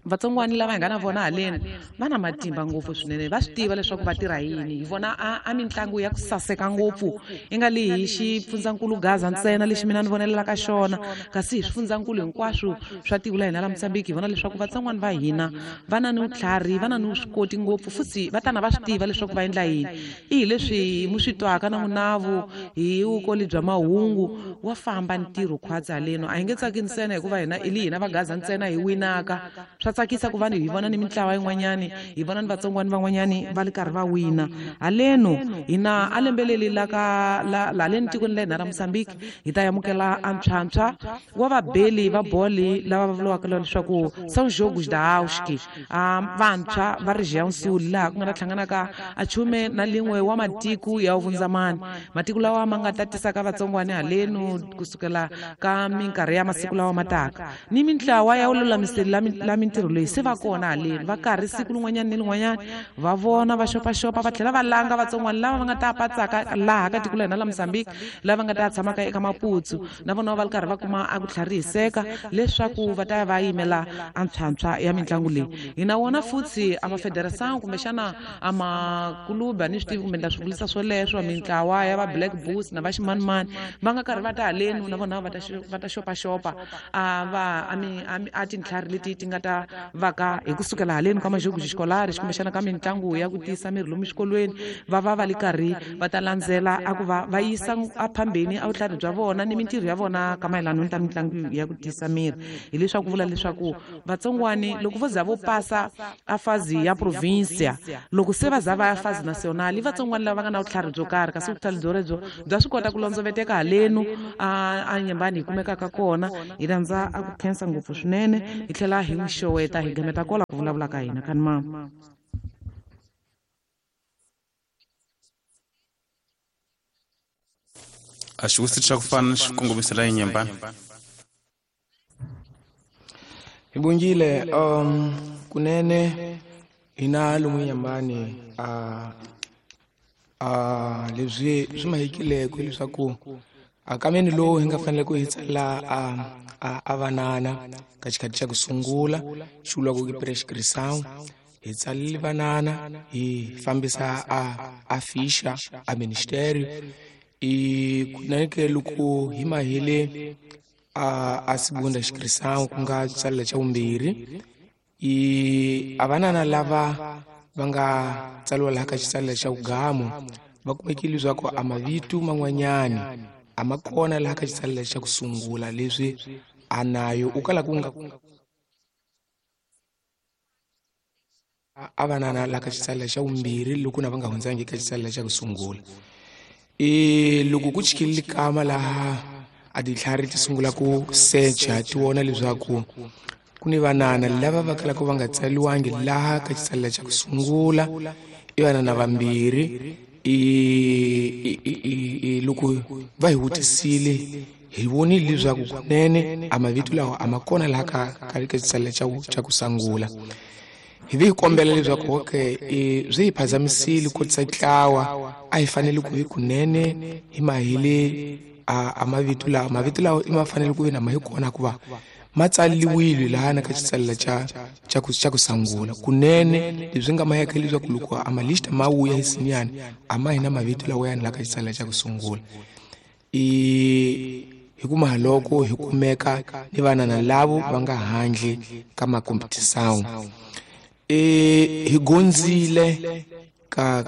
vatsongwani lava hi nga na vona haleni va na matimba ngopfu swinene, va swi tiva leswaku va tirha yini. Hi vona a mitlangu ya ku saseka ngopfu i nga li hi xifundzankulu Gaza ntsena lexi mina ni vonelelaka xona, kasi hi swifundzankulu hinkwaswo swa tiko la hina la Mozambique hi vona leswaku vatsongwani va hina va na ni vutlhari, va na ni vuswikoti ngopfu, futhi va tana va swi tiva leswaku va endla yini. I hi leswi mu swi twaka na munavu hi vukoli bya mahungu wa famba ntirho khwatsi haleno. A hi nge tsaki ntsena hikuva hina i li hina va Gaza ntsena hi winaka, swa tsakisa ku va hi vona ni mintlawa yin'wanyani, hi vona ni vatsongwani van'wanyani va li karhi va wina haleno. Hina a lembe leli la ka la leni tikweni la hina ra Mozambique hi ta amukela a ntshwantshwa wa vabeli va boli lava va vuriwaka leswaku São Jogos da Auski, vantshwa va Região Sul, laha ku nga ta hlanganaka a chume na lin'we wa matiko ya vundzamani, matiko lawa ma nga ta tisaka vatsongwani haleno kusukela ka minkarhi ya masiku lawa ma taka ni mintlawa ya vululamiseli la mintirho mintirho leyi se va kona haleni va karhi siku lin'wanyana ni lin'wanyana va vona va xopaxopa va tlhela va langa vatsongwana lava va nga ta patsaka laha ka tiko la hina la Mozambique lava nga ta tshamaka eka Maputo na vona va ri karhi va kuma a ku tlharihiseka leswaku va ta va yimela a ntshwantshwa ya mitlangu leyi. Hi na wona futhi a mafederation kumbexana a makulubu a ni swi tivi kumbe ni ta swi vulisa swoleswo mintlawa ya va Black Bulls na va ximanimani va nga karhi va ta haleni na vona va ta xopaxopa a va a tintlhari leti ti nga ta vaka hi kusukela haleni ka majogo xikolaris kumbexana ka mitlangu ya ku tiyisa miri lomu xikolweni va va va li karhi va ta landzela a ku va va yisa aphambeni a vutlhari bya vona ni mintirho ya vona ka mayelana ni ta mitlangu ya ku tiyisa miri. Hileswaku vula leswaku vatsongwani loko vo za vo pasa a fazi ya provincia loko se va za va ya fazi national i vatsongwani lava nga na vutlhari byo karhi kasi vutlhari byo bya swi kota ku londzoveteka halenu a nyembani hi kumekaka kona. Hi rhandza a ku khensa ngopfu swinene hi tlhela hi n'wi xoweta hi gameta kola ku vulavula ka hina kani mama. A xivutiso xa ku fana xi kongomisela enyembani. Hi bongile kunene hina lomu nyembani a leswi swi mahekileko leswaku akameni lowu hi nga fanele ku hi tsala a vanana ka xikhathi xa ku sungula xi vuriwaka ku prescription hi tsalile vanana hi fambisa a fisha a ministério i kunene ke loko hi mahele a segunda inscrição ku nga tsalela xa vumbirhi i a vanana lava va nga tsaliwa laha ka xitsalela xa vugamu va kumekile leswaku a mavito man'wanyani a ma kona laha ka xitsalela xa ku sungula leswi a nayo u kala ku nga a vanana laha ka xitsalela xa vumbirhi loko na va nga hundzangi ka xitsalela xa ku sungula. I loko ku chikile kama laha a tintlhari ti sungula ku secha ti vona leswaku ku ni vanana lava va kalaka va nga tsaliwangi laha ka xitsalela xa ku sungula i vanana vambirhi. I loko va hi vutisile hi vonile leswaku kunene a mavito lawa a ma kona laha ka xitsalela xa ku sungula. Hi vi hi kombela leswaku okay swi hi phazamisile ku ntlawa a hi fanele ku hi kunene hi mahele a mavito lawa mavito lawa i ma fanele ku ve na ma hi kona ku va ma tsaliwile laha na ka xitsalela xa ku sungula kunene leswi nga maheka leswaku loko a malista ma vuya hi sinyani a ma hina mavito lawa yani laha ka xitsalela xa ku sungula. I hi kuma loko hi kumeka ni vanana lavo va nga handle ka makompetisawu hi gondzile ka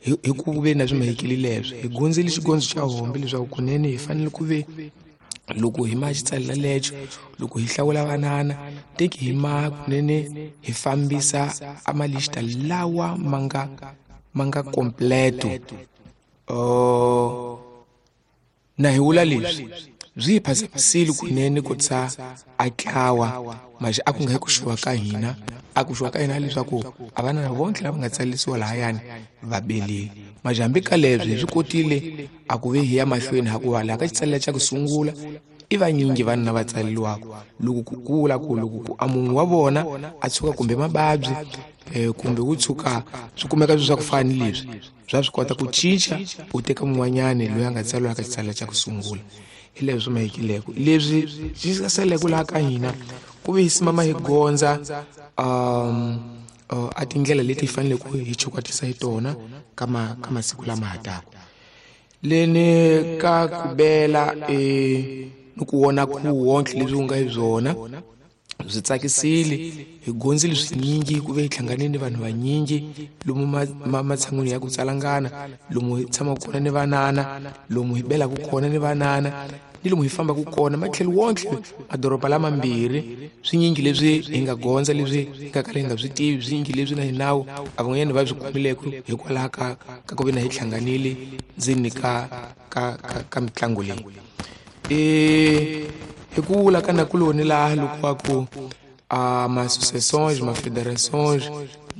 hi ku ve na swi mahekile leswi hi gondzile xigondzo xa hombe leswaku kunene hi fanele ku ve loko hi ma xitsalela lexo loko hi hlawula vanana teki hi ma kunene hi fambisa a malista lawa ma nga completo. Na hi vula leswi byi hi phazamisile kunene ku tsa a tlawa maxi a ku nga hi ku xuwa ka hina a ku xuwa ka hina leswaku a vanana vonke lava nga tsalisiwa lahayani va belile maxi hambi ka leswi hi swi kotile a ku ve hi ya mahlweni hakuva laha ka xitsalela xa ku sungula i vanyingi vanhu lava tsaleliwaka loko ku kula ku loko ku a munhu wa vona a tshuka kumbe mavabyi kumbe wu tshuka swi kumeka swi swa ku fana ni leswi bya swi kota ku cinca u teka mun'wanyani loyi a nga tsariwa ka xitsalela xa ku sungula. Hi leswi swi mahekileko leswi swi saleke laha ka hina ku ve hi simama hi gondza a tindlela leti hi faneleke hi chukwatisa hi tona ka masiku lama ha taka leni ka ku bela ni ku vona ku wonke leswi ku nga hi byona byi tsakisile hi gondzile swinyingi ku ve hi hlanganile ni vanhu vanyingi lomu matshan'wini ya ku tsalangana lomu hi tshamaka kona ni vanana lomu hi belaka kona ni vanana ni lomu hi fambaka kona matlhelo wonke madoroba lamambirhi swinyingi leswi hi nga gondza leswi hi nga kala hi nga swi tivi swinyingi leswi na hinawu a van'wanyana va swi kumileke hikwalaho ka ku ve na hi hlanganile ndzeni ka mitlangu leyi. Hi ku vula ka nakuloni laha loko wa ku ma-associations ma-fédérations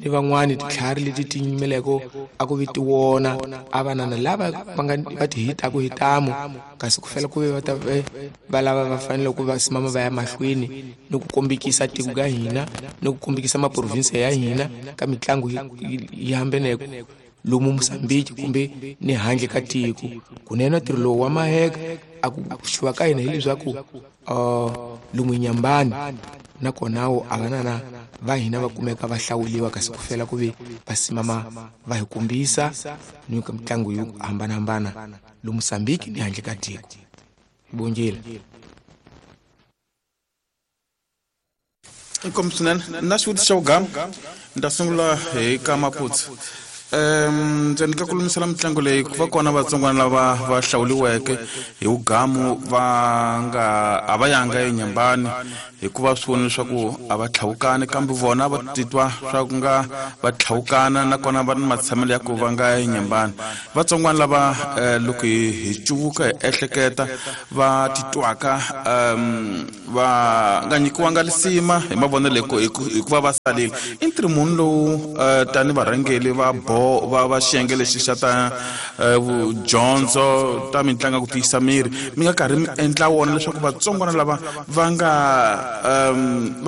ni van'wani titlhari leti ti yimeleko a ku vitiwona a vanana lava va nga va ti hitaku hi tamu kasi ku fela ku ve va ta va lava va fanele ku va simama va ya mahlweni ni ku kombekisa tiko ka hina ni ku kombekisa maprovinsi ya hina ka mitlangu yi hambeneko lomu Mozambique kumbe ni handle ka tiko. Kunene ntirho lowu wa maheka a ku xuva ka hina hileswaku lomu Nyambani nakona a vanana va hina va kumeka va hlawuliwa kasi ku fela ku ve va simama va hi kombisa ni ka mitlangu yo hambanahambana lomu Mozambique ni handle ka tiko. Bongile. Inkomu swinene na xivutiso xa vugama ni ta sungula hi ka Maputsu. Ndzi ni ka ku lumisela mitlangu leyi ku va kona vatsongwana lava va hlawuliweke hi vugamu va nga a va yanga eNyambani hikuva swi vona leswaku a va tlhawukani kambe vona va titwa swa ku nga va tlhawukana nakona va ni matshamelo ya ku va nga eNyambani. Vatsongwana lava loko hi cuvuka hi ehleketa va titwaka va nga nyikiwanga lisima hi mavonelo hikuva va salile i ntirho muni lowu tani varhangeli va va xiyenge lexi xa ta vudyondzo ta mitlangu ku tiyisa miri mi nga karhi mi endla wona leswaku vatsongwana lava va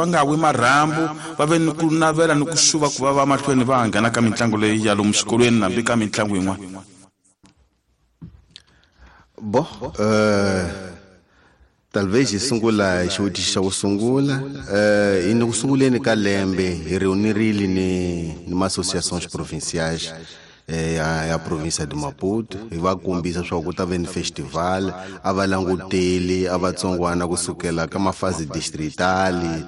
nga wi marhambu va ve ni ku navela ni ku xuva ku va va mahlweni va nghena ka mitlangu leyi ya lomu xikolweni hambi ka mitlangu yin'wana. Bo talvez hi sungula xivutiso xa ku sungula hi ni ku sunguleni ka lembe hi reunirile ni ma-associations provinciais ya province de Maputo hi va kombisa swa ku ta ve ni festival a va languteli a vatsongwana kusukela ka mafasi distritali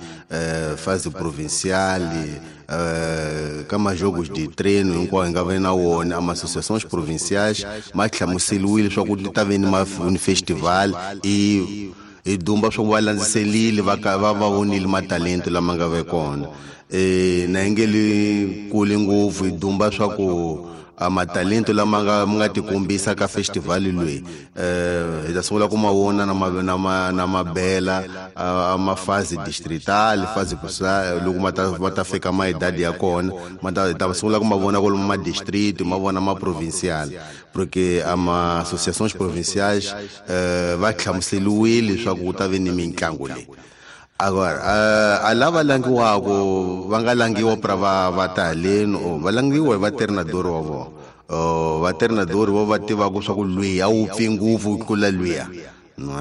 fasi provinciali ka majogos de treino hinkwawo hi nga ve na wona ama associations provinciais ma hlamuseliwile swa ku ta ve ni festival i dumba swa ku va landziselile va va vonile matalento lama nga ve kona na yi nge li kule ngopfu hi dumba swa ku matalento lama nga tikombisa ka festival leyi hi ta sungula ku ma vona na mabela mafasi distrital fasi loko ma ta fika maidadi ya kona ma ta sungula ku ma vona kwalomu ma district ma vona ma provincial porque ama associations provinciais va hlamuseliwile leswaku ku ta ve ni mitlangu leyi. Agora a lava langiwako va nga langiwa pra va ta haleni o va langiwa hi vatreinador wa vona vatreinador vo va tivaka swa ku lwiya a wu pfi ngopfu ku tlula lwiya no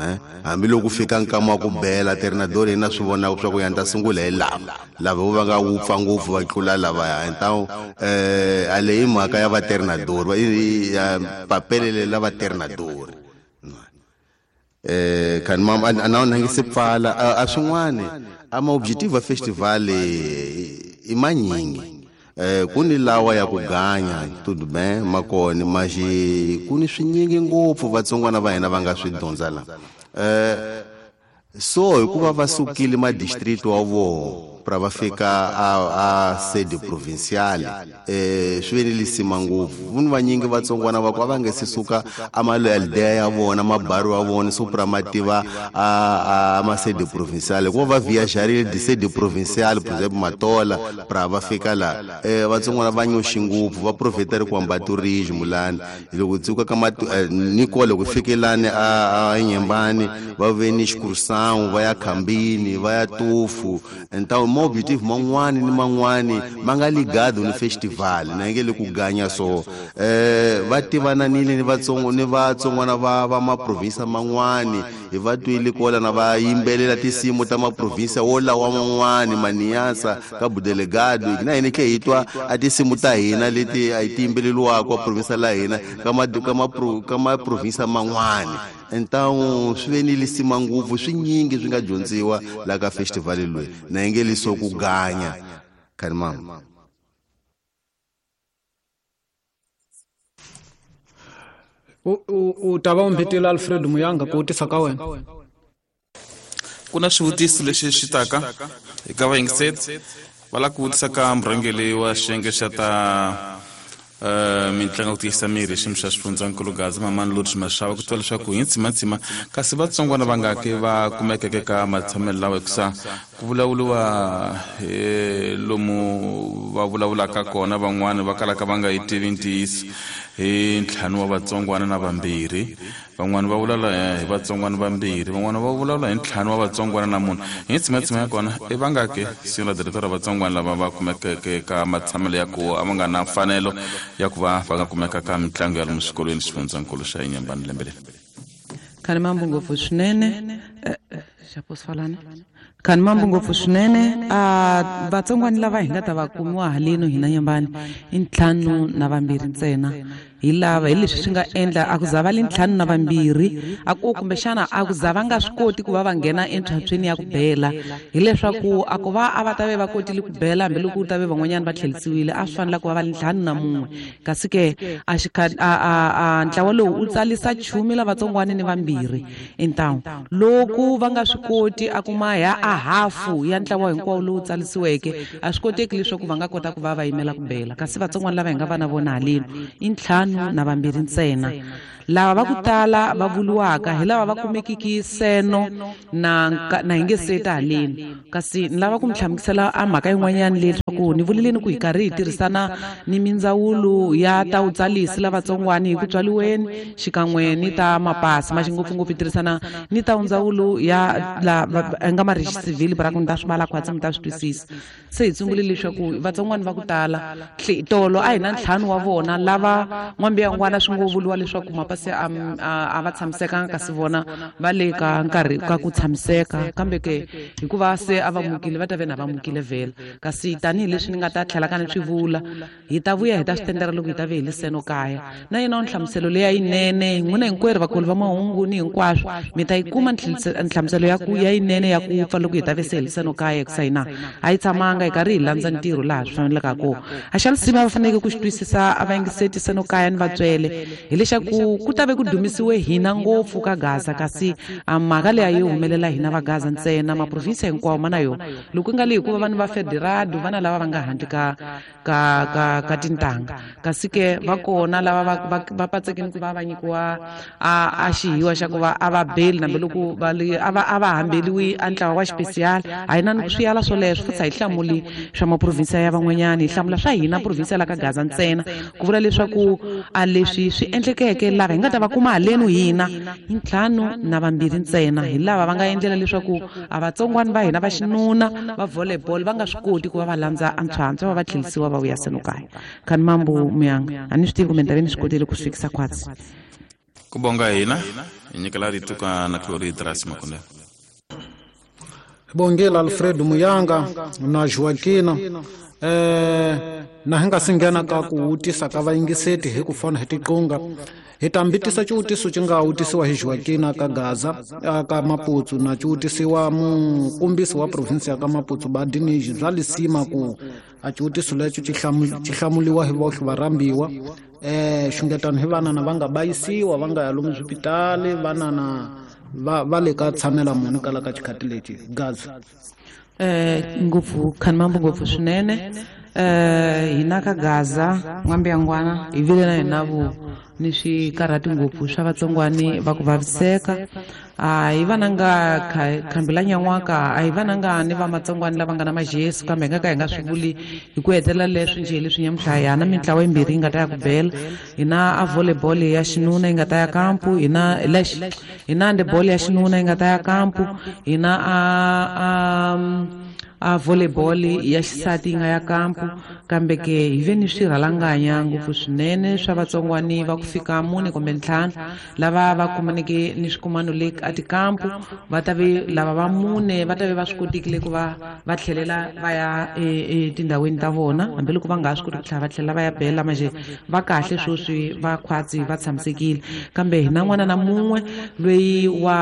hambiloko fika nkama wa ku bela treinador yena swi vonaka swa ku ya ni ta sungula hi lava lava vo va nga wupfa ngopfu va tlula lavaya. Então a leyi mhaka ya vatreinador ya papelele la vatreinador kan mam ana na ngi se pfala a swin'wana ama objective festival i manyingi ku ni lawa ya ku ganya tudo bem makona maji ku ni swinyingi ngopfu vatsongwana va hina va nga swi dyondza la so hikuva va sukile ma district wa vona pra va fika a sede provincial swi ve ni lisima ngopfu vuni vanyingi vatsongwana va ku a va nge se suka amaldea ya vona mabaru ya vona so pra ma tiva a ma sede provincial hikuva va viajarile de sede provincial por exemple Matola pra va fika la vatsongwana va nyoxi ngopfu va profiteri ku hamba tourism lani loko tsuka ka ni kole ku fikelani a Nyembani va ve ni excursão va ya Khambini va ya Tufu. Então ma objective man'wani ni man'wani ma nga ligado ni festival na nge le ku ganya so va tivananile ni vatsongwana va maprovinsa man'wani hi va twile kola na va yimbelela tinsimu ta maprovinsa wo lawa man'wani Maniasa ka Budelegado na hina tlhe hi twa a tinsimu ta hina leti a hi ti yimbeleliwaka provinsa la hina ka maprovinsa man'wani. Então swi ve ni lisima ngopfu swinyingi swi nga dyondziwa la ka festival leyi na yi nge liso ku ganya khani mama. U ta va u mbitile Alfred Muyanga ku vutisa ka wena. Ku na xivutiso lexi xi taka eka vayingiseri va lava ku vutisa ka murhangeri wa xiyenge xa ta Mitlangu ku tiyisa miri xiyimo xa xifundzankulu Gaza Mamani Lourdes Mashava ku twa leswaku hi ntsimantsima kasi vatsongwana va nga ke va kumekeke ka matshamelo lawa hikusa ku vulavuriwa lomu va vulavulaka kona van'wani va kalaka va nga yi tivi ntiyiso hi 5 wa vatsongwana na 2 van'wani va vulavula hi vatsongwana 2 van'wani va vulavula hi 5 wa vatsongwana na 4 hi ntsimantsima ya kona i va nga ke senhora diretora vatsongwana lava va kumekeke ka matshamelo ya ku a va nga na mfanelo ya ku va va nga kumeka ka mitlangu ya lomu swikolweni xifundzankulu xa Inhambane lembe leri. Khani mambo ngopfu swinene xaposifalana khani mambo ngopfu swinene vatsongwana lava hi nga ta va kumiwa haleno hina Nyambani i 5 na 2 ntsena hi lava hi leswi swi nga endla a ku za va le 5 na 2 a ku kumbexana a ku za va nga swi koti ku va va nghena entlhantlhweni ya ku bela hileswaku a ku va a va ta ve va kotile ku bela hambiloko ku ta ve van'wanyana va tlherisiwile a swi fanele ku va va le 5 na 1 kasi ke a a ntlawa lowu u tsalisa 10 lavatsongwana ni 2 então loko va nga swi koti a kuma ya a hafu ya ntlawa hinkwawo lowu tsalisiweke a swi koteki leswaku va nga kota ku va va yimela ku bela kasi vatsongwana lava hi nga va na vona haleni i 5 na 2 ntsena lava va ku tala va vuriwaka hi lava va kumekiki seno na hi nge seta haleni kasi ni lava ku mi hlamusela a mhaka yin'wanyana leswaku ni vuleleni ku hi karhi hi tirhisana ni mindzawulo ya ta vutsalisi lavatsongwana hi ku tswaliweni xikan'we ni ta mapasi ma xingopfungopfu hi tirhisana ni ta ndzawulo ya la nga marexisivhili ra ku ni ta swi vala khwatsi mi ta swi twisisa se hi tsungule leswaku vatsongwana va ku tala tolo a hi na 5 wa vona lava n'wambiyangwana swi ngo vuriwa leswaku mapasi a va tshamisekanga kasi vona va le ka nkarhi ka ku tshamiseka kambe ke hikuva se a va mukile va ta ve na va mukile vhela kasi tanihileswi ni nga ta tlhela ka ni swi vula hi ta vuya hi ta swi tendera loko hi ta ve hi le seno kaya na yena nhlamuselo leya yinene n'wina hinkwerhu vakulu va mahungu ni hinkwaswo mi ta yi kuma nhlamuselo ya ku ya yinene ya ku pfa loko hi ta ve se hi le seno kaya hikusa hina a yi tshamanga hi karhi hi landza ntirho laha swi faneleka kona a xa lisima va faneleke ku xi twisisa a va yingiseti seno kaya ni vatswele hileswaku ku ta ve ku dumisiwe hina ngopfu ka Gaza kasi a mhaka leyi a yi humelela hina va Gaza ntsena maprovinsi hinkwawo ma na yona loko ku nga le hikuva vanhu va federado vana lava va nga handle ka ka ka ka tintangha kasi ke va kona lava va patsekini ku va va nyikiwa a xihiwa xa ku va a va beli nambiloko va le a va hambeliwi a ntlawa wa xipesiyali a hi na ni ku swi yala swoleswo futhi a hi hlamuli swa maprovinsi ya van'wanyana hi hlamula swa hina provinsi ya la ka Gaza ntsena ku vula leswaku a leswi swi endlekeke lava hi nga ta va kuma halenu hina i 5 na 2 ntsena hi lava va nga endlela leswaku a vatsongwana va hina va xinuna va volleyball va nga swi koti ku va va landza antshwantswa va va tlherisiwa va vuya seno kaya khani mambo muyanga a ni swi tivi kumbe ni ta ve ni swi kotile ku swi fikisa khwatsi ku bonga hina hi nyikela rito ka na Cloridras Makondela Bongela Alfredo Muyanga na Joaquina na hi nga si nghena ka ku wutisa ka vayingiseti hi ku fona hi tiqunga hi ta mbitisa xiwutiso xi nga wutisiwa hi Joaquina ka Gaza ka Maputo na xiwutisiwa mukombisi wa provinsi ya ka Maputo Badiniji bya lisima ku a xiwutiso lexo xi hlamuliwa hi vohle varhambiwa xungetano hi vanana va nga bayisiwa va nga ya lomu swipitali vanana va le ka tshamela munhu kala ka xikhati lexi Gaza ngopfu khani mambo ngopfu swinene hina ka Gaza n'wambiyangwana hi vile na hina vo ni swikarhati ngopfu swa vatsongwani va ku vaviseka a hi vananga khambi la nyan'waka a hi vananga ni va matsongwani lava nga na majesu kambe hi nga ka hi nga swi vuli hi ku hetelela leswi njhe leswi nyamuhla hi na mintlawa yimbirhi yi nga ta ya ku bela hina a volleyball ya xinuna yi nga ta ya kampu hina hina handball ya xinuna yi nga ta ya kampu hina a volleyball ya xisati yi nga ya kampu kambe ke hi ve ni swirhalanganya ngopfu swinene swa vatsongwani va ku fika 4 kumbe 5 lava va kumaneke ni swikumano le a tikampu va ta ve lava va 4 va ta ve va swi kotekile ku va va tlhelela va ya etindhawini ta vona hambiloko va nga ha swi koti ku tlhela va tlhela va ya bela manje va kahle sweswi va khwatsi va tshamisekile kambe hina n'wana na mun'we loyi wa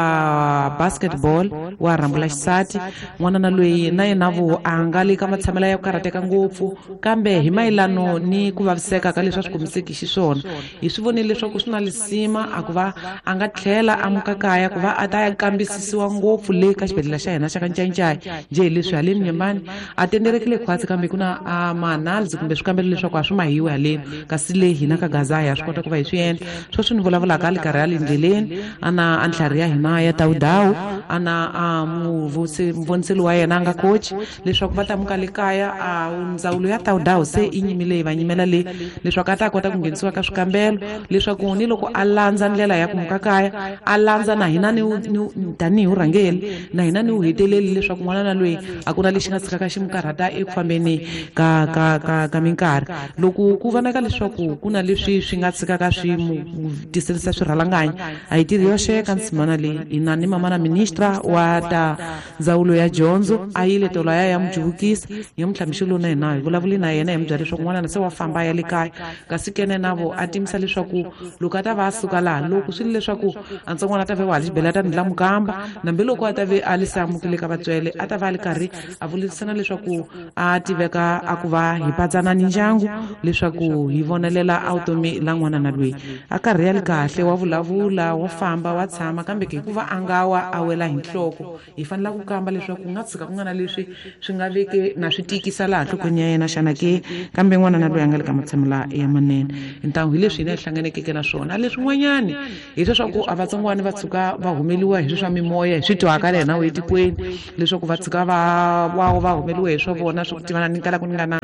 basketball wa rhambu la xisati n'wana na loyi na yena yena vo a nga le ka matshamela ya ku karhateka ngopfu kambe hi mayelano ni ku vaviseka ka leswi a swi komiseki xiswona hi swi vonile leswaku swi na lisima a ku va a nga tlhela a muka kaya ku va a ta ya kambisisiwa ngopfu le ka xibedhlele xa hina xa ka Ncayincaya njhe hi leswi haleni Nyembani a tenderekile khwatsi kambe ku na a maanalisi kumbe swikambelo leswaku a swi mahiwi haleni kasi le hina ka Gaza ya swi kota ku va hi swi endla sweswi ni vulavulaka a li karhi a le ndleleni a na a ntlhari ya hina ya tawudawu a na a muvoniseli wa yena a nga coach leswaku va ta muka le kaya a ndzawulo ya tawudawu se i nyimile yi va nyimela le leswaku a ta kota ku nghenisiwa ka swikambelo leswaku ni loko a landza ndlela ya ku muka kaya a landza na hina ni tanihi vurhangeri na hina ni wu heteleli leswaku n'wana na loyi a ku na lexi nga tshikaka xi mu karhata eku fambeni ka minkarhi loko ku vonaka leswaku ku na leswi swi nga tshikaka swi mu tiselisa swirhalanganya a hi tirhi yoxe ka nsimana leyi hina ni mama na ministra wa ta ndzawulo ya dyondzo a yile tolo ya mu juvukisa nyamuntlha mixo lowu na hina hi vulavuli na yena hi mu byela leswaku n'wana se wa famba ya le kaya kasi kene na vo a timisa leswaku loko a ta va a suka laha loko swi le leswaku a ntsongwana a ta ve wa ha xibedhlele a ta ndla mukamba nambi loko a ta ve a li se amukile ka vatswele a ta va a li karhi a vulisana leswaku a tiveka a ku va hi patsana ni ndyangu leswaku hi vonelela a vutomi la n'wana na loyi a karhi ya li kahle wa vulavula wa famba wa tshama kambe ke hikuva a nga wa a wela hi nhloko hi fanela ku kamba leswaku ku nga tshika ku nga na leswi swi nga veke na swi tikisa laha nhlokweni ya yena xana ke kambe n'wana na loyi a nga le ka matshamela ya manene ntangu hi leswi hina hi hlanganekeke na swona leswin'wanyani hi leswaku a vatsongwana va tshuka va humeliwa hi swi swa mimoya hi swi twaka le hina etikweni leswaku va tshuka va humeliwa hi swa vona swa ku tivana ni kala ku ni nga na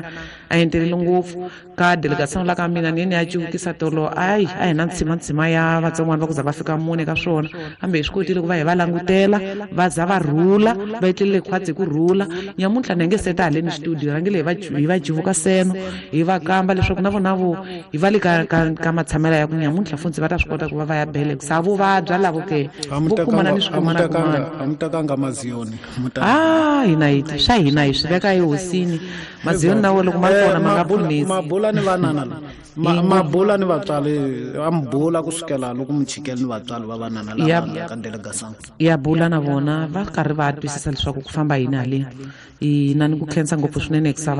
a enteleli ngopfu ka delegation la ka mina ni ni ya cuvukisa tolo ayi a hi na ntshimantsima ya vatsongwana va ku za va fika mune ka swona kambe hi swi kotile ku va hi va langutela va za va rhula va etlelele khwatsi hi ku rhula nyamuntlha ni nge seta haleni studio rhangile hi va jivuka seno hi va kamba leswaku na vona vo hi va le ka matshamela ya ku nyamuntlha funtsi va ta swi kota ku va va ya bele sa vo vabya lavo ke vo kumana ni swi kumana kumana a mi tekanga maziyoni hina hi swa hina hi swi veka ehosini maziyoni na wo loko ma kona ma nga pfunisi mabula ni vanana mabula ni vatswari a mi bula kusukela loko mi chikele ni vatswari va vanana lava ka delegation ya bula na vona va karhi va twisisa leswaku ku famba yini haleni hina ni ku khensa ngopfu swinene hikusa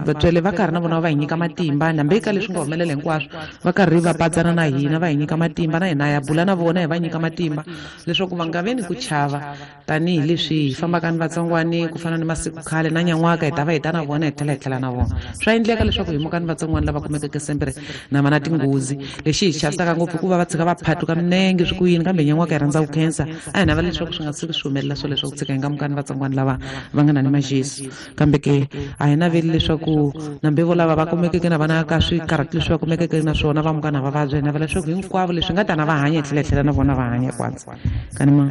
vatswele va karhi na vona va hi nyika matimba nambe ka leswi nga humelela hinkwaswo va karhi va patsana na hina va hi nyika matimba na hina ya bula na vona hi va nyika matimba leswaku va nga ve ni ku chava tanihileswi hi fambaka ni vatsongwani ku fana ni masiku khale na nyan'waka hi ta va hi ta na vona hi tlhela hi tlhela na vona swa endleka leswaku hi muka ni vatsongwani lava kumekeke sempere na va na tinghozi lexi hi chavisaka ngopfu ku va va tshika va phatuka minenge swi ku yini kambe nyan'waka hi rhandza ku khensa a hi navela leswaku swi nga tshuki swi humelela swo leswaku tshika hi nga muka ni vatsongwani lava va nga na ni majesu kambe ke a hi naveli leswaku nambe vo lava va kumekeke na vana ka swikarhati leswi va kumekeke na swona va muka na va vabya hi navela leswaku hinkwavo leswi nga tana va hanya hi tlhela hi tlhela na vona va hanya kwatsa kani ma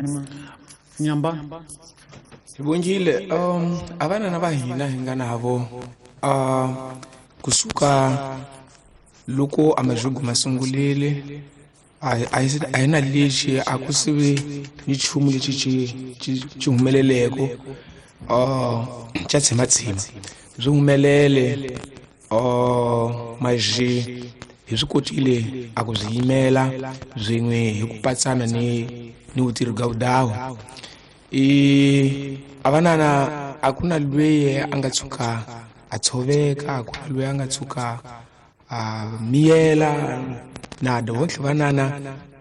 Nyamba hi vongile a vanana va hina hi nga navo kusuka loko a majugu ma sungulile a hi na lexi a ku sivi ni nchumu lexi xi humeleleko xa tshimatshima byi humelele maji hi swi kotile a ku byi yimela byin'we hi ku patsana ni vutirhi bya vudawu a vanana a ku na lweyi a nga tshuka a tshoveka a ku na lweyi a nga tshuka a miyela na vontlhe vanana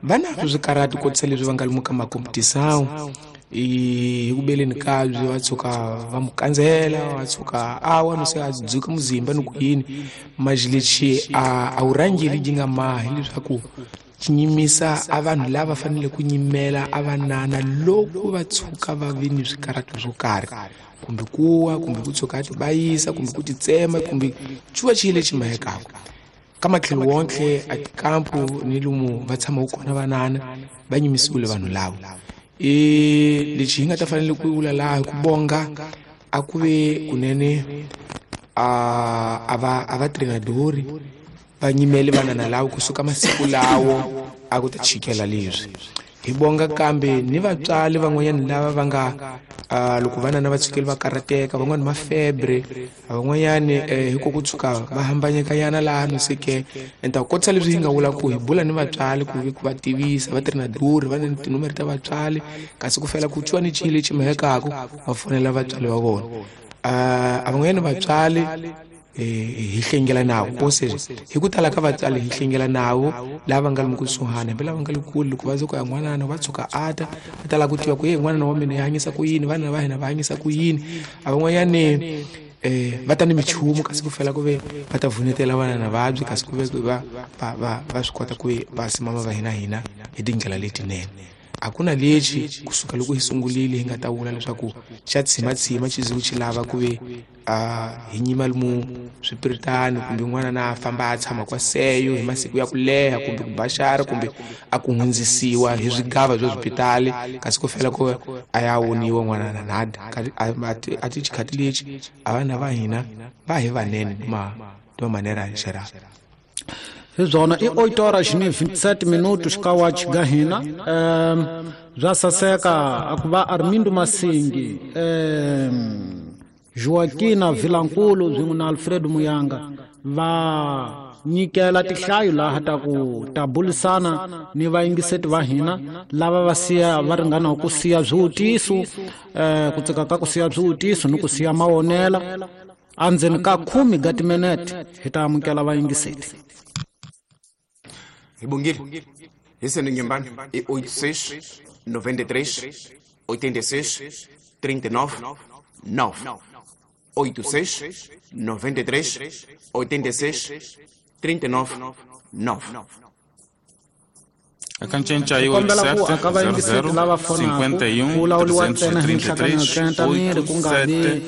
va na swikarhati kotisa leswi va nga lomu ka makompetisawu hi ku beleni kabyi va tshuka va mu kandzela va tshuka a wa no se a dzuka muzimba ni ku yini maji lexi a wu rhangeli yi nga mahi leswaku xi nyimisa a vanhu lava fanele ku nyimela a vanana loko va tshuka va vi ni swikarhati swo karhi kumbe kuwa kumbe ku tshuka a tibayisa kumbe ku titsema kumbe xuva xi lexi mahekaka ka matlhelo wontlhe a tikampu ni lomu va tshamaka kona vanana va nyimisiwile vanhu lavo lexi hi nga ta fanele ku vula laha ku bonga a ku ve kunene a va trenadori va nyimele vanana lavo kusuka masiku lawo a ku ta chikela leswi Hi bonga kambe ni vatswari van'wanyana lava va nga loko vana na va tshukeli va karhateka, van'wani ma febre, van'wanyani hi ku tshuka va hambanyekanyana laha no seke enta kotisa leswi hi nga vula ku hi bula ni vatswari ku va tivisa va treinador va ni tinomere ta vatswari, kasi ku fela ku twiwa ni chile lexi mhekaku va fonela vatswari va vona. A van'wanyana vatswari hi hlengela navo, ou seja hi ku tala ka vatswari hi hlengela navo lava nga lomu kusuhani, hambi lava nga le kule. Loko va ze ku ya n'wanana va tshuka ata va tala ku tiva ku ye n'wanana wa mina hi hanyisa ku yini, vana va hina va hanyisa ku yini. A van'wanyani va ta ni michumu kasi ku fela ku ve va ta vunetela vana na vabyi, kasi ku ve va va va va swi kota ku va simama va hina hina hi tindlela letinene. A ku na lexi kusuka loko hi sungulile hi nga ta vula leswaku xa tshimatsima xi ze xi lava ku ve hi nyima lomu swipiritani kumbe n'wana na famba a tshama kwa seyo hi masiku ya ku leha kumbe ku baxara kumbe a ku hundzisiwa hi swigava bya swipitali, kasi ku fela ku a ya woniwa n'wana na nada. A ti xikhati lexi a vana va hina va hi vanene ma manera xera. Hi byona i 8 horas ni 27 minutos ka wachi ga hina. Bya saseka a ku va Armindo Masingi, Joaquina Vilankulu swin'we na Alfredo Muyanga va nyikela tihlayo laha ta ku ta bulisana ni vayingiseti va hina lava va siya va ringana ku siya swivutiso, ku tsaka ka ku siya swivutiso ni ku siya mawonela. Endzeni ka 10 ga timinete hi ta amukela vayingiseti. Hi bongile hi sendo Nyembani i 86 93 86 39 9 86 93 86 39 9. Akancenca i 87 00 51 333 87